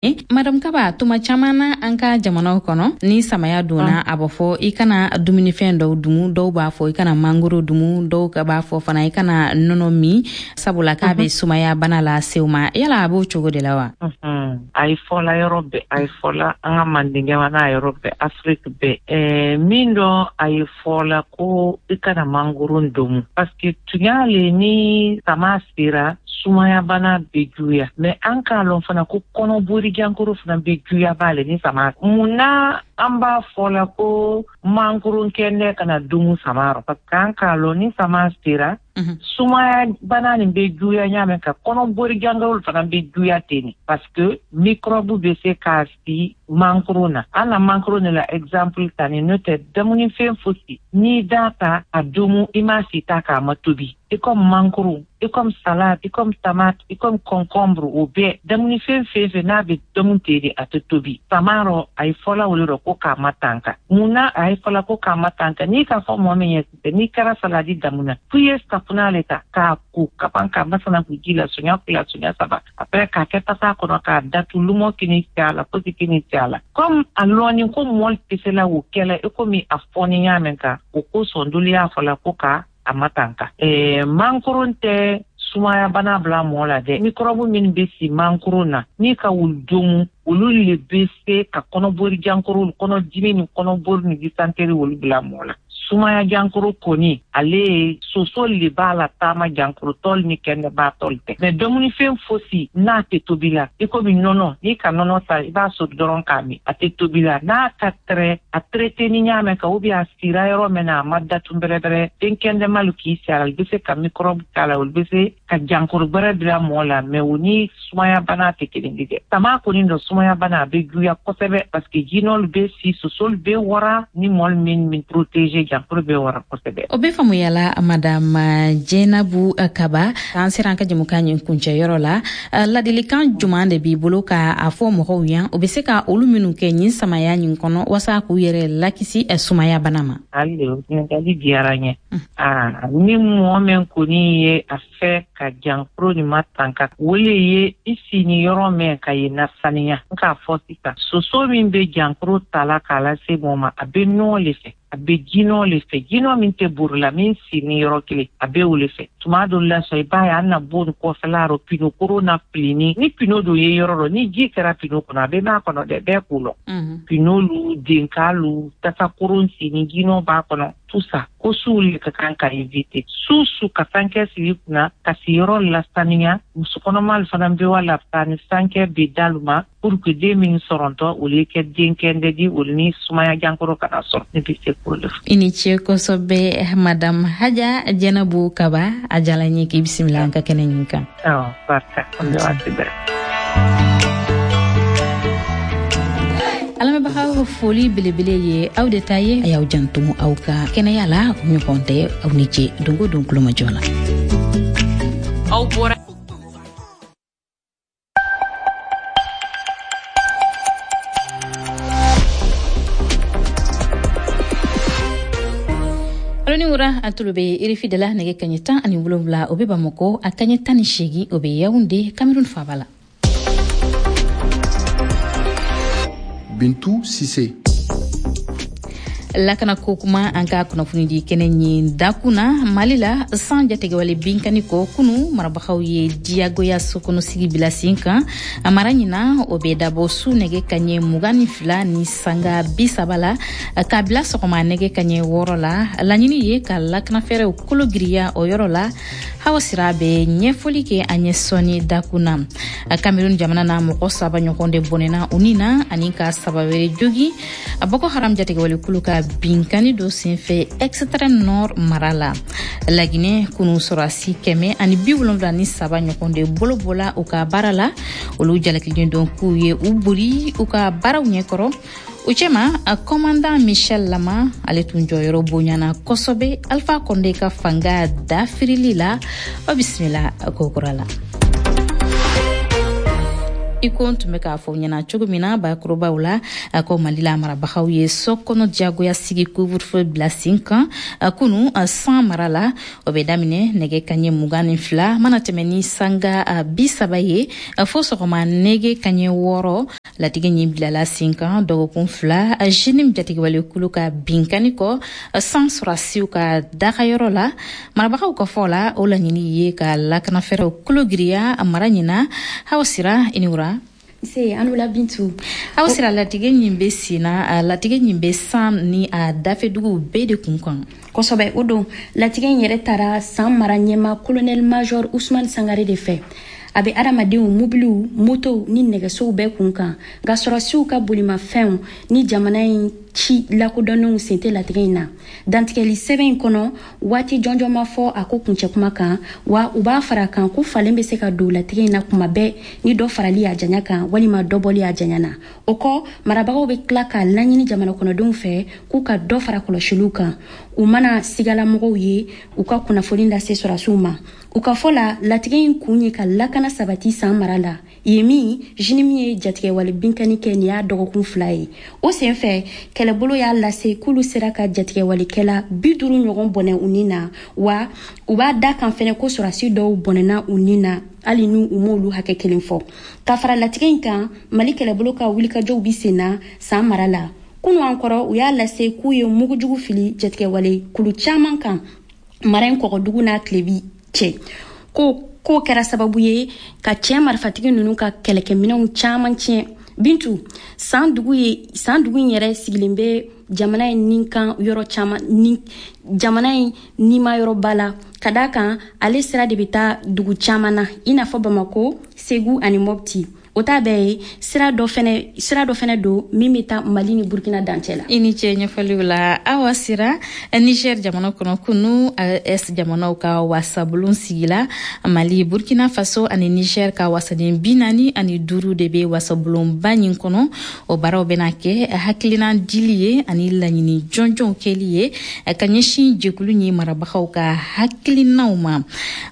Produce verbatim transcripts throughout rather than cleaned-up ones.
Madame Kaba, tuma caman na an ka jamanaw kɔnɔ, ni samaya donna, a b'a fɔ i kana dumunifɛn dɔw dumu. Dɔw b'a fɔ i kana mangoro dumu, dɔw ka b'a fɔ fana i kana nɔnɔ min, sabula k'a bɛ sumaya bana lase u ma. Yala a b'o cogo de la wa? A ye fɔla yɔrɔ bɛɛ, a ye fɔla an ka Manden jamana yɔrɔ bɛɛ, Afiriki bɛɛ. Ɛɛ min dɔ a ye fɔla ko i kana mangoro domu, parce que tunya le ni sama sera, sumaya bana bɛ juguya. Mais an k'a lɔn fana ko kɔnɔbori jankoro fana bɛ juguya b'ale ni sama. Mun na an b'a fɔ la ko mangoro kɛnɛ kana dumu sama rɔ? Parce que an k'a lɔn ni sama sera, sumaya bana nin bɛ juguya ɲa mɛn ka kɔnɔbori jankoro fana bɛ juguya ten, parce que microbe bɛ se k'a si mangoro na. An na mangoro ne la exemple ta ni, n'o tɛ dumunifɛn fosi n'i da ta a dumu, i ma si ta k'a ma tobi, i comme mangoro, i comme salade, i comme tomate, i comme concombre, o bɛɛ dumunifɛn fɛn fɛn n'a bɛ dumu ten de, a tɛ tobi. Sama rɔ, a ye fɔla o le rɔ ko k'a ma tanka. Mun na a ye fɔla ko k'a ma tanka? N'i k'a fɔ mɔgɔ min ye sisan, n'i kɛra saladi damu na, f'i ye safunɛ le ta k'a ko ka ban k'a masana k'u ji la sonya fila, sonya saba, après k'a kɛ tasa kɔnɔ k'a datu, lumɔ kini cɛ a la, fosi kini cɛ a la. Comme a lɔnni ko mɔli tɛ se la o kɛla i komi a fɔni ɲa mɛn kan, o kosɔn dolu y'a fɔla ko ka a ma tanka. Ɛɛ mankoron tɛ sumaya bana bila mɔgɔ la dɛ. Microbe min bɛ si mankoro na, n'i ka wulu domu, olu le bɛ se ka kɔnɔbori jankoro, kɔnɔdimi ni kɔnɔbori ni dysenterie, olu bila mɔgɔ la. Sumaya jankoro kɔni, ale ye soso le b'a la taama jankoro tɔli ni kɛnɛba tɔli tɛ. Mais dumunifɛn fosi n'a tɛ tobi la, i komi nɔnɔ, n'i ka nɔnɔ ta, i b'a soli dɔrɔn k'a min, a tɛ tobi la, n'a ka tɛrɛ a traité ni ɲa mɛn kan, ou bien a sira yɔrɔ min na, a ma datu bɛrɛbɛrɛ, fɛn kɛnɛmalu k'i si a la, olu bɛ se ka microbe k'a la, olu bɛ se ka jankoro gbɛrɛ bila mɔgɔ la. Mais o ni sumaya bana tɛ kelen ye dɛ. Sama kɔni dɔ, sumaya bana a bɛ juguya kosɛbɛ, parce que jinɔlu bɛ si, sosolu bɛ wara, ni mɔli min min protéger, jankoro bɛ wara kosɛbɛ. O bɛ faamuyala, madame Jɛnabu Kaba. An sera an ka jamukan ɲin kuncɛyɔrɔ la. Ladilikan juman de b'i bolo ka a fɔ mɔgɔw yan, o bɛ se ka olu minnu kɛ ɲin samaya ɲin kɔnɔ walasa k'u yɛrɛ lakisi sumaya bana ma? Hali ɲininkali diyara n ye. Aa, ni mɔgɔ min kɔni ye a fɛ ka jankoro nin ma tanka, o le ye i sini yɔrɔ min ka ye nasaniya. N k'a fɔ sisan, soso min bɛ jankoro ta la k'a lase mɔgɔ ma, a bɛ nɔɔ le fɛ, a bɛ jinɔ le fɛ, jinɔ min tɛ bori la, min sini yɔrɔ kelen, a bɛ o le fɛ. Tuma dɔ la sɔn, i b'a ye an na bon kɔfɛla rɔ, pino koro na filini, ni pino dɔ ye yɔrɔ dɔ, ni ji kɛra pino kɔnɔ, a bɛ mɛn a kɔnɔ dɛ, bɛɛ k'o lɔn. Pino lu, denka lu, tasa koron sini, jinɔ b'a kɔnɔ, tout ça, ko suw le ka kan ka éviter. Su su ka sankɛ sigi kunna ka siyɔrɔ lasaniya. Musokɔnɔma fana bɛ wa la ni sankɛ bɛ dalu ma pour que den min sɔrɔntɔ, olu ye kɛ den kɛndɛ di, olu ni sumaya jankoro kana sɔrɔ. Ne bɛ se k'o de fɔ. I ni ce kosɛbɛ, madame Haja Jɛnabu Kaba. A diyara n ye k'i bisimila an ka kɛnɛ ɲin kan. Awɔ, barika, an bɛ waati bɛɛ. Alamɛnbagaw, foli belebele ye aw de ta ye. A y'aw janto aw ka kɛnɛya la, ɲɔgɔn tɛ. Aw ni ce don o don kulomajɔ la. Aw bɔra. Alo ni wura, a tulo bɛ R F I de la. Nɛgɛ kaɲɛ tan ani wolonwula o bɛ Bamakɔ, a kaɲɛ tan ni seegin o bɛ Yawunde, Cameroun faaba la. Bintu Sise. Lakana ko kuma, an ka kunnafoni di kɛnɛ ɲin dakun na. Mali la, san jatigɛwale binkani kɔ, kunu marabagaw ye diyagoya sokɔnɔ sigi bila sen kan a mara ɲina. O bɛ dabɔ su nɛgɛ kaɲɛ mugan ni fila ni sanga bi saba la k'a bila sɔgɔma nɛgɛ kaɲɛ wɔɔrɔ la. Laɲini ye ka lakanafɛɛrɛw kolo giriya o yɔrɔ la. Hawa Sira bɛ ɲɛfɔli kɛ an ye sɔnni dakun na. Cameroun jamana na, mɔgɔ saba ɲɔgɔn de bɔnɛna u ni na ani ka saba wɛrɛ jogi Boko Haram jatigɛwale kulu ka binkani dɔ senfɛ Extrême Nord mara la. Laginɛ, kunu sɔrɔsi kɛmɛ ani bi wolonwula ni saba ɲɔgɔn de bolo bɔla u ka baara la. Olu jalakilen don k'u ye u bori u ka baaraw ɲɛkɔrɔ. U cɛma, commandant Michel Lama, ale tun jɔyɔrɔ bonyana kosɛbɛ Alpha Condé ka fanga dafirili la. Aw bisimila kokura la. I ko n tun bɛ k'a fɔ ɲɛna cogo min na bakurubaw la, ko Mali la, marabagaw ye so kɔnɔ diyagoya sigi, couvre-feu, bila sen kan kunu San mara la. O bɛ daminɛ nɛgɛ kaɲɛ mugan ni fila mana tɛmɛ ni sanga bi saba ye fo sɔgɔma nɛgɛ kaɲɛ wɔɔrɔ. Latigɛ ɲin bilala sen kan dɔgɔkun fila JNIM jatigɛwale kulu ka binkani kɔ San sɔrɔdasiw ka dagayɔrɔ la. Marabagaw ka fɔ la, o laɲini ye ka lakanafɛɛrɛw kolo giriya mara ɲina. Hawa Sira, i ni wura. Se an la, Bintu. Aw Sira, latigɛ ɲin bɛ sen na, latigɛ ɲin bɛ San ni a dafɛduguw bɛɛ de kun kan. Kosɛbɛ, o don latigɛ in yɛrɛ taara San mara ɲɛma colonel major Usman Sangare de fɛ. A bɛ adamadenw, mobiliw, motow ni nɛgɛsow bɛɛ kun kan, nka sɔrɔdasiw ka bolimafɛnw ni jamana in ci lakodɔnnenw sen tɛ latigɛ in na. Dantigɛli sɛbɛn in kɔnɔ, waati jɔnjɔn ma fɔ a ko kuncɛ kuma kan, wa u b'a fara kan ko falen bɛ se ka don latigɛ in na kuma bɛɛ, ni dɔ farali a janya kan walima dɔ bɔli a janya na. O kɔ, marabagaw bɛ tila k'a laɲini jamana kɔnɔdenw fɛ k'u ka dɔ fara kɔlɔsiliw kan, u mana sigalamɔgɔw ye, u ka kunnafoni lase sɔrɔdasiw ma. U ka fɔ la, latigɛ in kun ye ka lakana sabati San mara la yen min JNIM ye jatigɛwale binkani kɛ nin y'a dɔgɔkun fila ye. O sen fɛ, kɛlɛbolo y'a lase k'olu sera ka jatigɛwalekɛla bi duuru ɲɔgɔn bɔnɛ u ni na, wa u b'a da kan fɛnɛ ko sɔrɔdasi dɔw bɔnɛna u ni na, hali ni u m'olu hakɛ kelen fɔ. Ka fara latigɛ in kan, Mali kɛlɛbolo ka wulikajɔw bi sen na San mara la. Kunu an kɔrɔ, u y'a lase k'u ye mugujugu fili jatigɛwale kulu caman kan mara in kɔgɔdugu n'a tilebi cɛ, ko k'o kɛra sababu ye ka cɛ marifatigi ninnu ka kɛlɛkɛminɛnw caman tiɲɛ. Bintu, San dugu ye, San dugu in yɛrɛ sigilen bɛ jamana in nin kan yɔrɔ caman ni jamana in nima yɔrɔba la, ka da kan ale sira de bɛ taa dugu caman na, i n'a fɔ Bamako, Segu ani Mɔpti. O t'a bɛɛ ye, sira dɔ fɛnɛ sira dɔ fɛnɛ don min bɛ taa Mali ni Burukina dancɛ la. I ni ce ɲɛfɔliw la, Awa Sira. Niger jamana kɔnɔ, kunu A E S jamanaw ka wasabulon sigila. Mali, Burkina Faso ani Niger ka wasaden bi naani ani duuru de bɛ wasabulonba ɲin kɔnɔ. O baaraw bɛna kɛ hakilina dili ye ani laɲini jɔnjɔnw kɛli ye ka ɲɛsin jɛkulu ɲi marabagaw ka hakilinaw ma.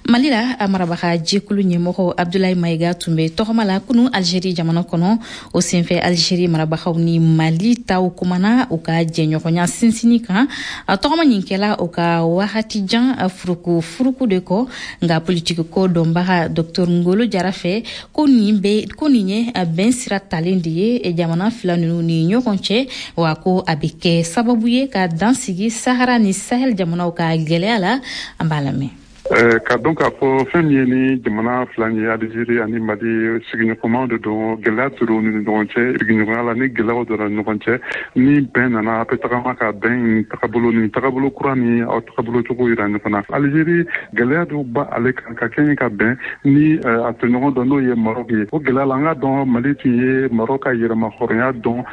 Mali la, a marabaga jɛkulu ɲɛmɔgɔ Abdulayi Mayiga tun bɛ tɔgɔma la kunu Algérie jamana kɔnɔ. O senfɛ, Algérie marabagaw ni Mali taw kumana u ka jɛɲɔgɔnya sinsinni kan. A tɔgɔma ɲin kɛla u ka wagati jan furuku furuku de kɔ. Nka politiki ko dɔnbaga Docteur Ngolo Jara fɛ, ko nin bɛ ko nin ye bɛn sira talen de ye jamana fila ninnu ni ɲɔgɔn cɛ, wa ko a bɛ kɛ sababu ye ka dan sigi Sahara ni Sahel jamanaw ka gɛlɛya la. An b'a lamɛn. Ka dɔn k'a fɔ fɛn min ye ni jamana fila ye, Alizeri ani Mali, sigiɲɔgɔnmaw de don. Gɛlɛya tora ni ɲɔgɔn cɛ sigiɲɔgɔnya la. Ni gɛlɛyaw donna ɲɔgɔn cɛ, ni bɛn nana, a bɛ tagama ka bɛn tagabolo ni tagabolo kura ni aw tagabolo cogo yira ɲɔgɔn na. Alizeri, gɛlɛya dɔw ba ale kan ka kɛɲɛ ka bɛn ni a tɔɲɔgɔn dɔ, n'o ye Marɔk ye. O gɛlɛya la, an ka dɔn Mali tun ye Marɔk ka yɛrɛma hɔrɔnya dɔn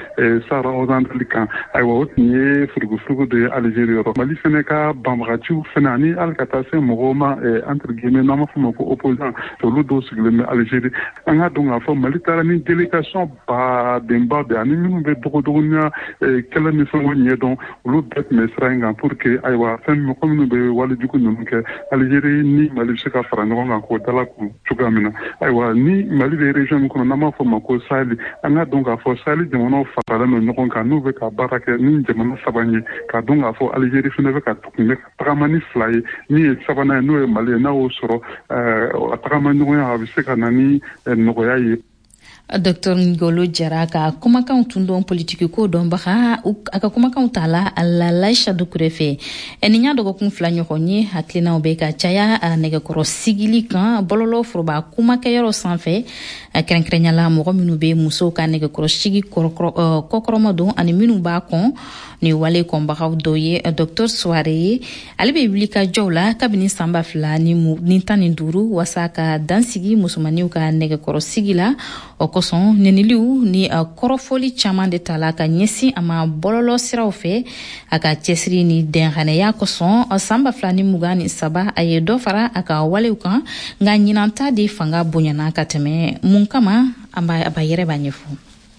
Sahara occidental kan. Ayiwa, o tun ye furugufurugu de ye Alizeri yɔrɔ. Mali fɛnɛ ka banbagaciw fɛnɛ, ani hali ka taa se mɔgɔw ma, entre guillemets, n'an b'a fɔ ma ko opposant, olu dɔw sigilen bɛ Alizeri. An ka dɔn k'a fɔ Mali taara ni délégation badenba de ani minnu bɛ dogodogonya kɛlɛ ni fɛnw ɲɛdɔn, olu bɛɛ tun bɛ sira in kan pour que, ayiwa, fɛn mɔgɔ minnu bɛ walejugu ninnu kɛ, Alizeri ni Mali bɛ se ka fara ɲɔgɔn kan k'o dala kun cogoya min na. Ayiwa, ni Mali bɛ région min kɔnɔ, n'an b'a fɔ ma ko Sahel, an ka dɔn k'a fɔ Sahel jamanaw faralen don ɲɔgɔn kan, n'u bɛ ka baara kɛ ni jamana saba ye. K'a dɔn k'a fɔ Alizeri fana bɛ ka tun bɛ ka tagama ni fila ye, min ye sabanan ye, n'o ye Mali ye. N'a y'o sɔrɔ, a tagama ɲɔgɔnya, a bɛ se ka na ni nɔgɔya ye. Docteur Ngolo Jara ka kumakanw tun dɔn, politiki ko dɔnbaga. A ka kumakanw ta la Lalaisha Dukure fɛ. Nin y'a dɔgɔkun fila ɲɔgɔn ye, hakilinaw bɛ ka caya nɛgɛkɔrɔ sigili kan bɔlɔlɔ foroba kumakɛyɔrɔ sanfɛ, kɛrɛnkɛrɛnya la mɔgɔ minnu bɛ musow ka nɛgɛkɔrɔ sigi kɔkɔrɔma don ani minnu b'a kɔn. Ni wale kɔnbagaw dɔ ye Docteur Soare ye. Ale bɛ wuli ka jɔw la kabini san ba fila ni tan ni duuru waasa ka dansigi musomaninw ka nɛgɛkɔrɔ sigi la. O kosɔn, nɛniliw ni kɔrɔfɔli caman de tala ka ɲɛsin a ma bɔlɔlɔ siraw fɛ. A ka cɛsiri ni dɛnganiya kosɔn, san ba fila ni mugan ni saba, a ye dɔ fara a ka walew kan, nka ɲinanta de fanga bonyana ka tɛmɛ. Mun kama? An b'a yɛrɛ b'a ɲɛfɔ.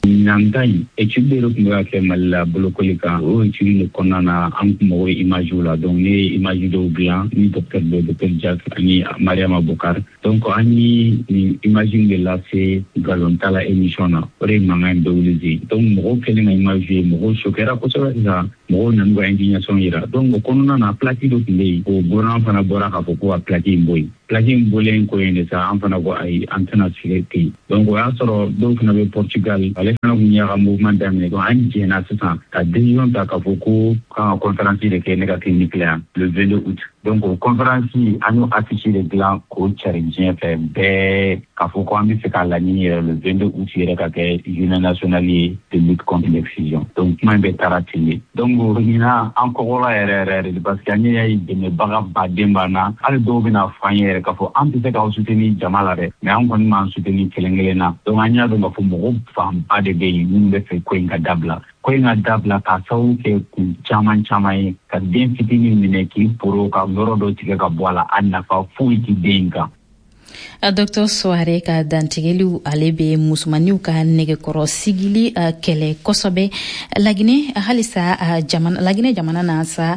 Ɲinan ta in, étude de tun bɛ ka kɛ Mali la bolokoli kan. O étude de kɔnɔna na, an tun mago bɛ image la. Donc ne ye image dɔw dilan ni docteur dɔ, docteur Jack ani Mariama Bokar. Donc an ye nin image de lase Nkalon t'a la émission na. O de ye mankan in bɛɛ wuli. Donc mɔgɔw kɛlen ka image ye, mɔgɔw choquera kosɛbɛ. Sisan mɔgɔw nan'u ka indignation yira. Donc o kɔnɔna na, plaque dɔ tun bɛ yen, o gouvernement fana bɔra k'a fɔ ko ka plaque in bɔ yen. Plaque in bɔlen kɔ yen de sa, an fana ko ayi, an tɛna sigi ten. Donc o y'a sɔrɔ dɔw fana bɛ Portugal, ale fana tun y'a ka mouvement daminɛ. Donc an jɛna sisan ka décision ta k'a fɔ ko kan ka conférence de kɛ ne ka clinique la yan le vingt-deux août. Donc o conférence, an y'o affiche de dilan k'o cari diɲɛ fɛ bɛɛ, k'a fɔ ko an bɛ fɛ k'a laɲini yɛrɛ le vingt-deux août yɛrɛ ka kɛ journée nationale ye de lutte contre l'excision. Donc kuma in bɛɛ taara ten de. Donc ɲinan an kɔgɔla yɛrɛ yɛrɛ de, parce que an y'a ye dɛmɛbaga baden b'an na. Hali dɔw bɛna fɔ an ye yɛrɛ k'a fɔ an tɛ se k'aw soutenir jama la dɛ, mais an kɔni b'an soutenir kelen kelen na. Donc an y'a dɔn k'a fɔ mɔgɔ fanba de bɛ yen minnu bɛ fɛ ko in ka dabila, ko in ka dabila, k'a sababu kɛ kun caman caman ye. Ka den fitinin minɛ k'i poro ka yɔrɔ dɔ tigɛ ka bɔ a la, a nafa foyi ti den in kan. Docteur Soare ka dantigɛliw, ale bɛ musomaninw ka nɛgɛkɔrɔ sigili kɛlɛ kosɛbɛ Laginɛ halisa. Jamana, Laginɛ jamana na sa,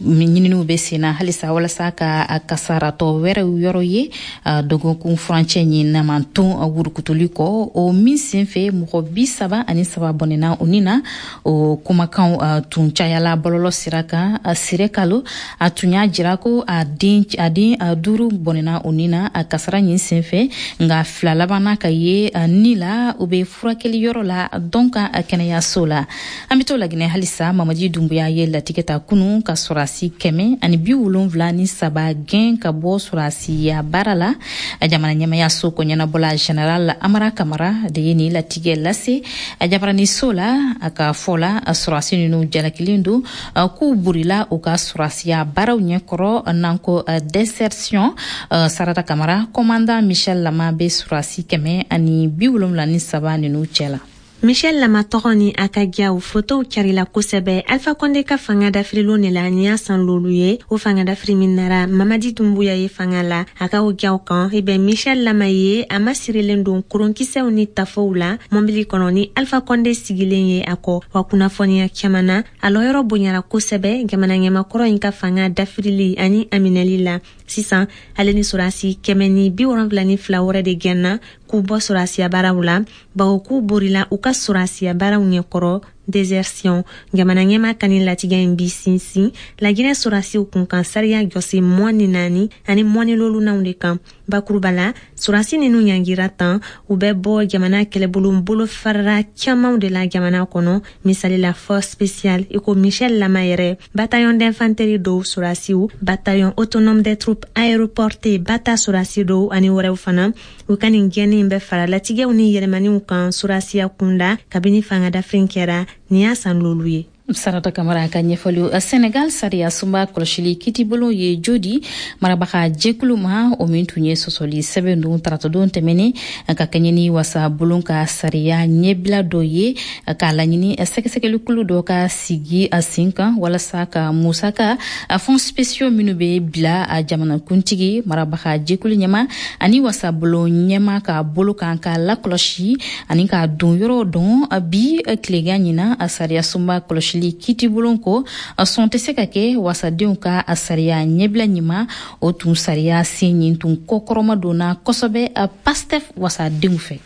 ɲininiw bɛ sen na halisa walasa ka kasaratɔ wɛrɛw yɔrɔ ye dɔgɔkun furancɛ ɲin namanton wurukutuli kɔ, o min sen fɛ mɔgɔ bi saba ani saba bɔnɛna o ni na. O kumakanw tun cayala bɔlɔlɔ sira kan. Sire kalo a tun y'a jira ko a den a den duuru bɔnɛna o ni na a kasara ɲin senfɛ, nka fila labanna ka ye ni la, u bɛ furakɛli yɔrɔ la dɔn ka kɛnɛyaso la. An bɛ to Laginɛ halisa. Mamadi Dunbuya ye latigɛ ta kunu ka sɔrɔdasi kɛmɛ ani bi wolonwula ni saba gɛn ka bɔ sɔrɔdasiya baara la. Jamana ɲɛmayaso ko ɲɛnabɔla général Amara Kamara de ye nin latigɛ lase jabaraniso la. A ka fɔ la, sɔrɔdasi ninnu jalakilen don k'u burila u ka sɔrɔdasiya baaraw ɲɛkɔrɔ, n'an ko désertion. Sarata Kamara, commandant Michel Lama bɛ sɔrɔdasi kɛmɛ ani bi wolonwula ni saba ninnu cɛ la. Michel Lama tɔgɔ ni a ka jaw fotow carila kosɛbɛ Alpha Konde ka fanga dafirilon de la. Nin y'a san lolu ye o fanga dafiri min nara Mamadi Dumbuya ye fanga la. A ka o jaw kan, i bɛ Michel Lama ye, a masirilen don koronkisɛw ni tafow la mɔbili kɔnɔ ni Alpha Konde sigilen ye a kɔ. Wa kunnafoniya caman na, a lɔyɔrɔ bonyara kosɛbɛ jamana ɲɛmakɔrɔ in ka fanga dafirili ani a minɛli la. Sisan ale ni sɔrɔdasi kɛmɛ ni bi wolonfila ni fila wɛrɛ de gɛnna k'u bɔ sɔrɔdasiya baaraw la, bawo k'u borila u ka sɔrɔdasiya baaraw ɲɛkɔrɔ, désertion. Jamana ɲɛma ka nin latigɛ in bi sinsin Laginɛ sɔrɔdasiw kunkan sariya jɔsi mɔn ni naani ani mɔni lolunanw de kan. Bakuruba la, sɔrɔdasi ninnu ɲangira tan, u bɛ bɔ jamana kɛlɛbolo bolo farara camanw de la jamana kɔnɔ, misali la force spéciale i ko Michel Lama yɛrɛ, bataillon d'infanterie dɔw sɔrɔdasiw, bataillon autonome des troupes aéroportées bata sɔrɔdasi dɔw ani wɛrɛw fana. U ka nin gɛnni in bɛ fara latigɛw ni yɛlɛmaniw kan sɔrɔdasiya kunda kabini fanga dafiri kɛra. Nin y'a san lolu ye. Sarata Kamara ka ɲɛfɔliw. Senegal sariya sunba kɔlɔsili kitibolo ye jodi marabaga jɛkulu ma, o min tun ye sɔsɔli sɛbɛn don taratadon tɛmɛnen ka kɛɲɛ ni wasa bulon ka sariya ɲɛbila dɔ ye, k'a laɲini sɛgɛsɛgɛlikulu dɔ ka sigi a sen kan walasa ka musaka fonds spéciaux minnu bɛ bila a jamanakuntigi, marabaga jɛkulu ɲɛma ani wasabulon ɲɛma ka bolo kan, ka lakɔlɔsi ani ka don yɔrɔ dɔn. Bi tilegan ɲina, sariya sunba kɔlɔsili kitibulon ko sɔn tɛ se ka kɛ wasadenw ka a sariya ɲɛbila ɲuman. O tun sariya sen ɲin tun kɔkɔrɔma donna kosɛbɛ Pastef wasadenw fɛ.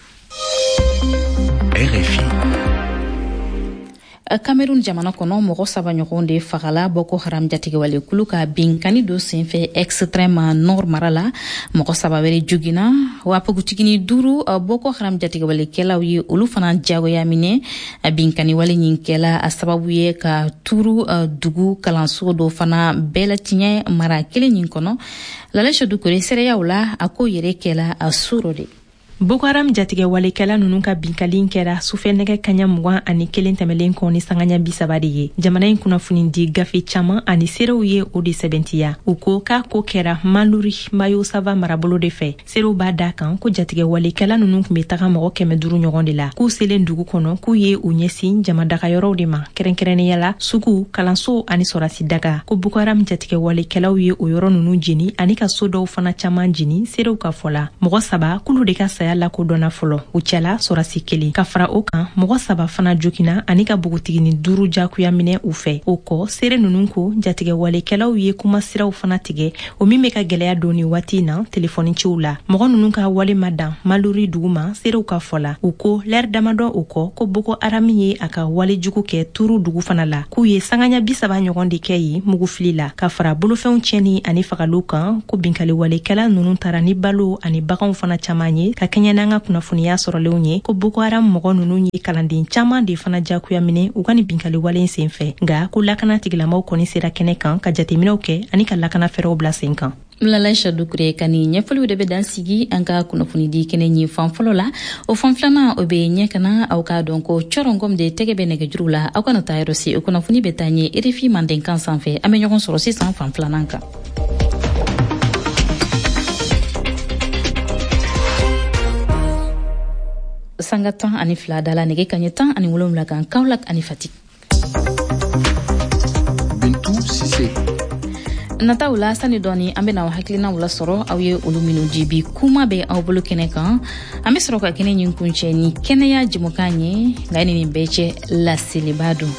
R F I. Cameroun jamana kɔnɔ, mɔgɔ saba ɲɔgɔn de fagala Boko Haram jatigɛwalekulu ka binkani dɔ senfɛ Extrême Nord mara la. Mɔgɔ saba wɛrɛ jogina wa npogotigini duuru, Boko Haram jatigɛwalekɛlaw ye olu fana jagoya minɛ. Binkani wale ɲin kɛla a sababu ye ka turu dugu kalanso dɔ fana bɛɛ latiɲɛ mara kelen ɲin kɔnɔ. Lalɛsɛ Dukure seereyaw la, a ko yɛrɛ kɛla a suro de. Boko Haram jatigɛwalekɛla ninnu ka binkali kɛra sufɛ nɛgɛ kaɲa mugan ani kelen tɛmɛlen kɔ ni sangaɲa bi saba de ye. Jamana in kunnafoni di gafe caman ani seerew ye o de sɛbɛntiya. U ko k'a ko kɛra Maluri Mayo Sava marabolo de fɛ. Seerew b'a da kan ko jatigɛwalekɛla ninnu tun be taga mɔgɔ kɛmɛ duru ɲɔgɔn de la. K'u selen dugu kɔnɔ, k'u ye u ɲɛsin jamadagayɔrɔw de ma, kɛrɛnkɛrɛnnenya la sugu, kalanso ani sɔrasi daga. Ko Boko Haram jatigɛwalekɛlaw ye o yɔrɔ ninnu jeni ani ka so dɔw fana caman jeni. Seerew ka fɔ la, mɔgɔ saba k'olu de ka saya saya lakodɔnna fɔlɔ, u cɛla sɔrɔsi kelen. Ka fara o kan, mɔgɔ saba fana joginna ani ka bogotigini duuru jagoya minɛ u fɛ. O kɔ, seere ninnu ko jatigɛwalekɛlaw ye kumasiraw fana tigɛ, o min bɛ ka gwɛlɛya don ni waati na telefɔni ciw la. Mɔgɔ ninnu ka wale ma dan Malori dugu ma, seerew ka fɔ la. U ko lɛri damadɔ o kɔ, ko Boko Haram ye a ka wale jugu kɛ Turu dugu fana la, k'u ye sangaɲa bi saba ɲɔgɔn de kɛ yen mugufili la, ka fara bolofɛnw tiɲɛni ani fagaliw kan. Ko binkaliwalekɛla ninnu taara ni balo ani baganw fana caman ye. Ka kɛɲɛ n'an ka kunnafoniya sɔrɔlenw ye, ko Boko Haram mɔgɔ ninnu ye kalanden caman de fana jagoya minɛ u ka nin binkaliwale sen fɛ. Nka ko lakana tigilamaw kɔni sera kɛnɛ kan ka jateminɛw kɛ ani ka lakana fɛɛrɛw bila sen kan. Lalaïcha Doucouré ka nin ɲɛfɔliw de bɛ dan sigi an ka kunnafonidi kɛnɛ ɲin fan fɔlɔ la. O fan filanan, o bɛ ɲɛ kana aw k'a dɔn ko cɔrɔngɔm de tɛgɛ bɛ nɛgɛjuru la. Aw kana taa yɔrɔ si, o kunnafoni bɛ taa ɲɛ R F I mandenkan sanfɛ. An bɛ ɲɔgɔn sɔrɔ sisan fan filanan kan. Sanga tan ani fila da la nɛgɛ kaɲɛ tan ani wolonwula kan Kaolack ani Fatick. Bintu Cissé. Nataw la, sani dɔɔni an bena aw hakilinaw lasɔrɔ, aw ye olu minnu jibi kuma bɛ aw bolo kɛnɛ kan. An be sɔrɔ ka kɛnɛ ɲin kuncɛ ni kɛnɛya jɛmukan ye. Nka ni nin bɛɛ cɛ, laseliba don.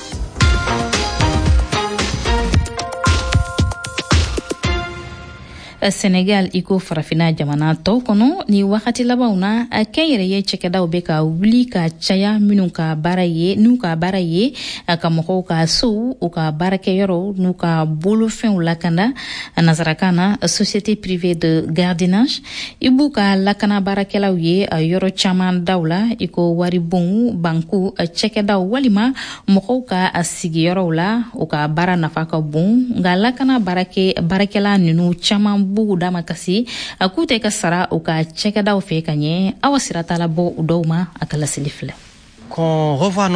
Senegal, i ko farafina jamana tɔw kɔnɔ, ni wagati labanw na, kɛnyɛrɛye cɛkɛdaw bɛ ka wuli ka caya, minnu ka baara ye n'u ka baara ye ka mɔgɔw ka sow, u ka baarakɛyɔrɔw n'u ka bolofɛnw lakanda, nasarakan na société privée de gardiennage. I b'u ka lakana baarakɛlaw ye yɔrɔ caman daw la, i ko waribonw, banku, cɛkɛdaw walima mɔgɔw ka sigiyɔrɔw la. U ka baara nafa ka bon, nka lakana baarakɛla ninnu caman b'u dama kasi a k'u tɛ ka sara u ka cɛkɛdaw fɛ ka ɲɛ. Awa sira t'a la bɔ u dɔw ma. A ka laseli filɛ.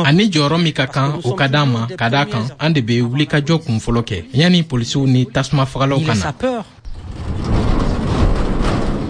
Ani jɔyɔrɔ min ka kan, o ka d'an ma, ka d'a kan an de bɛ wulikajɔ kun fɔlɔ kɛ yanni polisiw ni tasuma fagalaw ka na.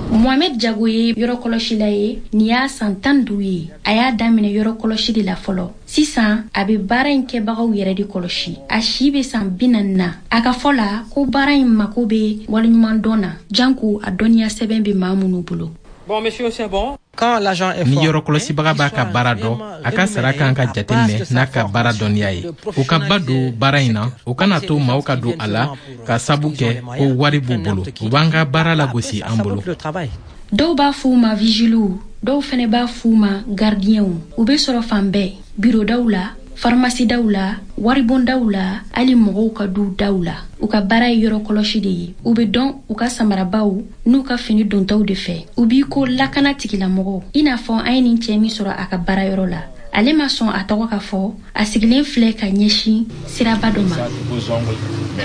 Mohamed Jago ye yɔrɔ kɔlɔsila ye. Nin y'a san tan duuru ye. A y'a daminɛ yɔrɔ kɔlɔsi de la fɔlɔ. Sisan a bɛ baara in kɛbagaw yɛrɛ de kɔlɔsi. A si bɛ san bi naani na. A ka fɔ la ko baara in mako bɛ waleɲumandɔn na, janko a dɔnniya sɛbɛn bɛ maa minnu bolo. Bon, monsieur, c'est bon. Ni yɔrɔ kɔlɔsibaga b'a ka baara dɔn, a ka sara kan ka jateminɛ n'a ka baara dɔnniya ye. U ka ba don baara in na, u kana to maaw ka don a la ka sabu kɛ ko wari b'u bolo. U b'an ka baara lagosi an bolo. Dɔw b'a f'u ma vigiliw, dɔw fɛnɛ b'a f'u ma gardienw. U bɛ sɔrɔ fan bɛɛ, birodaw la, farimasidaw la, waribondaw la, hali mɔgɔw ka duw daw la. U ka baara ye yɔrɔ kɔlɔsi de ye. U bɛ dɔn u ka samarabaw n'u ka fini dontaw de fɛ. U b'i ko lakana tigilamɔgɔw, i n'a fɔ an ye nin cɛɛ min sɔrɔ a ka baarayɔrɔ la. Ale ma sɔn a tɔgɔ ka fɔ. A sigilen filɛ ka ɲɛsin siraba dɔ ma.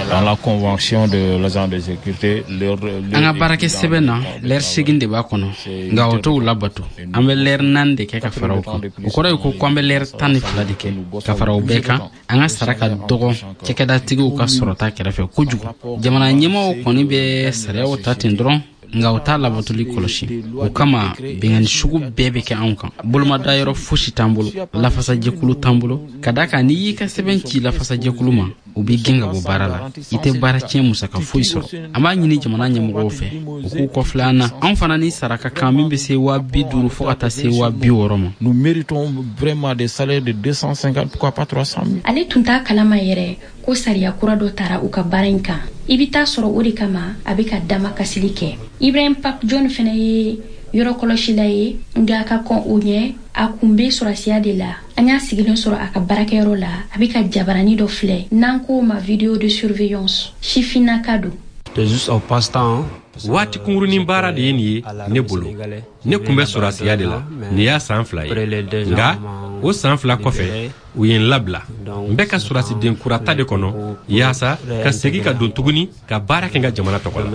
Dans la convention de l'agent de sécurité, An ka baarakɛ sɛbɛn na, lɛri segin de b'a kɔnɔ, nka o t'o labato. An bɛ lɛri naani de kɛ ka fara o kan. O kɔrɔ ye ko ko an bɛ lɛri tan ni fila de kɛ ka fara o bɛɛ kan. An ka sara ka dɔgɔ cakɛdatigiw ka sɔrɔta kɛrɛfɛ kojugu. Jamana ɲɛmɔgɔw kɔni bɛ sariyaw ta ten dɔrɔn, nka u t'a labatoli kɔlɔsi. O kama binkanni sugu bɛɛ bɛ kɛ anw kan. Bolomadayɔrɔ fosi t'an bolo, lafasajɛkulu t'an bolo, ka da kan n'i y'i ka sɛbɛn ci lafasajɛkulu ma, u b'i gɛn ka bɔ baara la. I tɛ baara tiɲɛ musaka foyi sɔrɔ. An b'a ɲini jamana ɲɛmɔgɔw fɛ, u k'u kɔfilɛ an na. Anw fana ni sara ka kan min bɛ se waa bi duuru fo ka taa se waa bi wɔɔrɔ ma. Nous méritons vraiment des salaires de deux cent cinquante, pourquoi pas trois cent mille. Ale tun t'a kalama yɛrɛ ko sariya kura dɔ tara u ka baara in kan. I bɛ taa sɔrɔ o de kama a bɛ ka dama kasili kɛ. Ibrahim Pap John fɛnɛ ye yɔrɔ kɔlɔsila ye, nka ka kɔn o ɲɛ, a kun bɛ sɔrɔsiya de la. An y'a sigilen sɔrɔ a ka baarakɛyɔrɔ la, a bɛ ka jabarani dɔ filɛ n'an k'o ma vidéo de surveillance. Sifinnaka don. Waati kunkurunin baara de ye nin ye ne bolo. Ne kun bɛ sɔrɔsiya de la nin y'a san fila ye, nka o san fila kɔfɛ, u ye n labila. N bɛ ka sɔrɔsiden kurata de kɔnɔ yaasa ka segi ka don tuguni ka baara kɛ n ka jamana tɔgɔ la.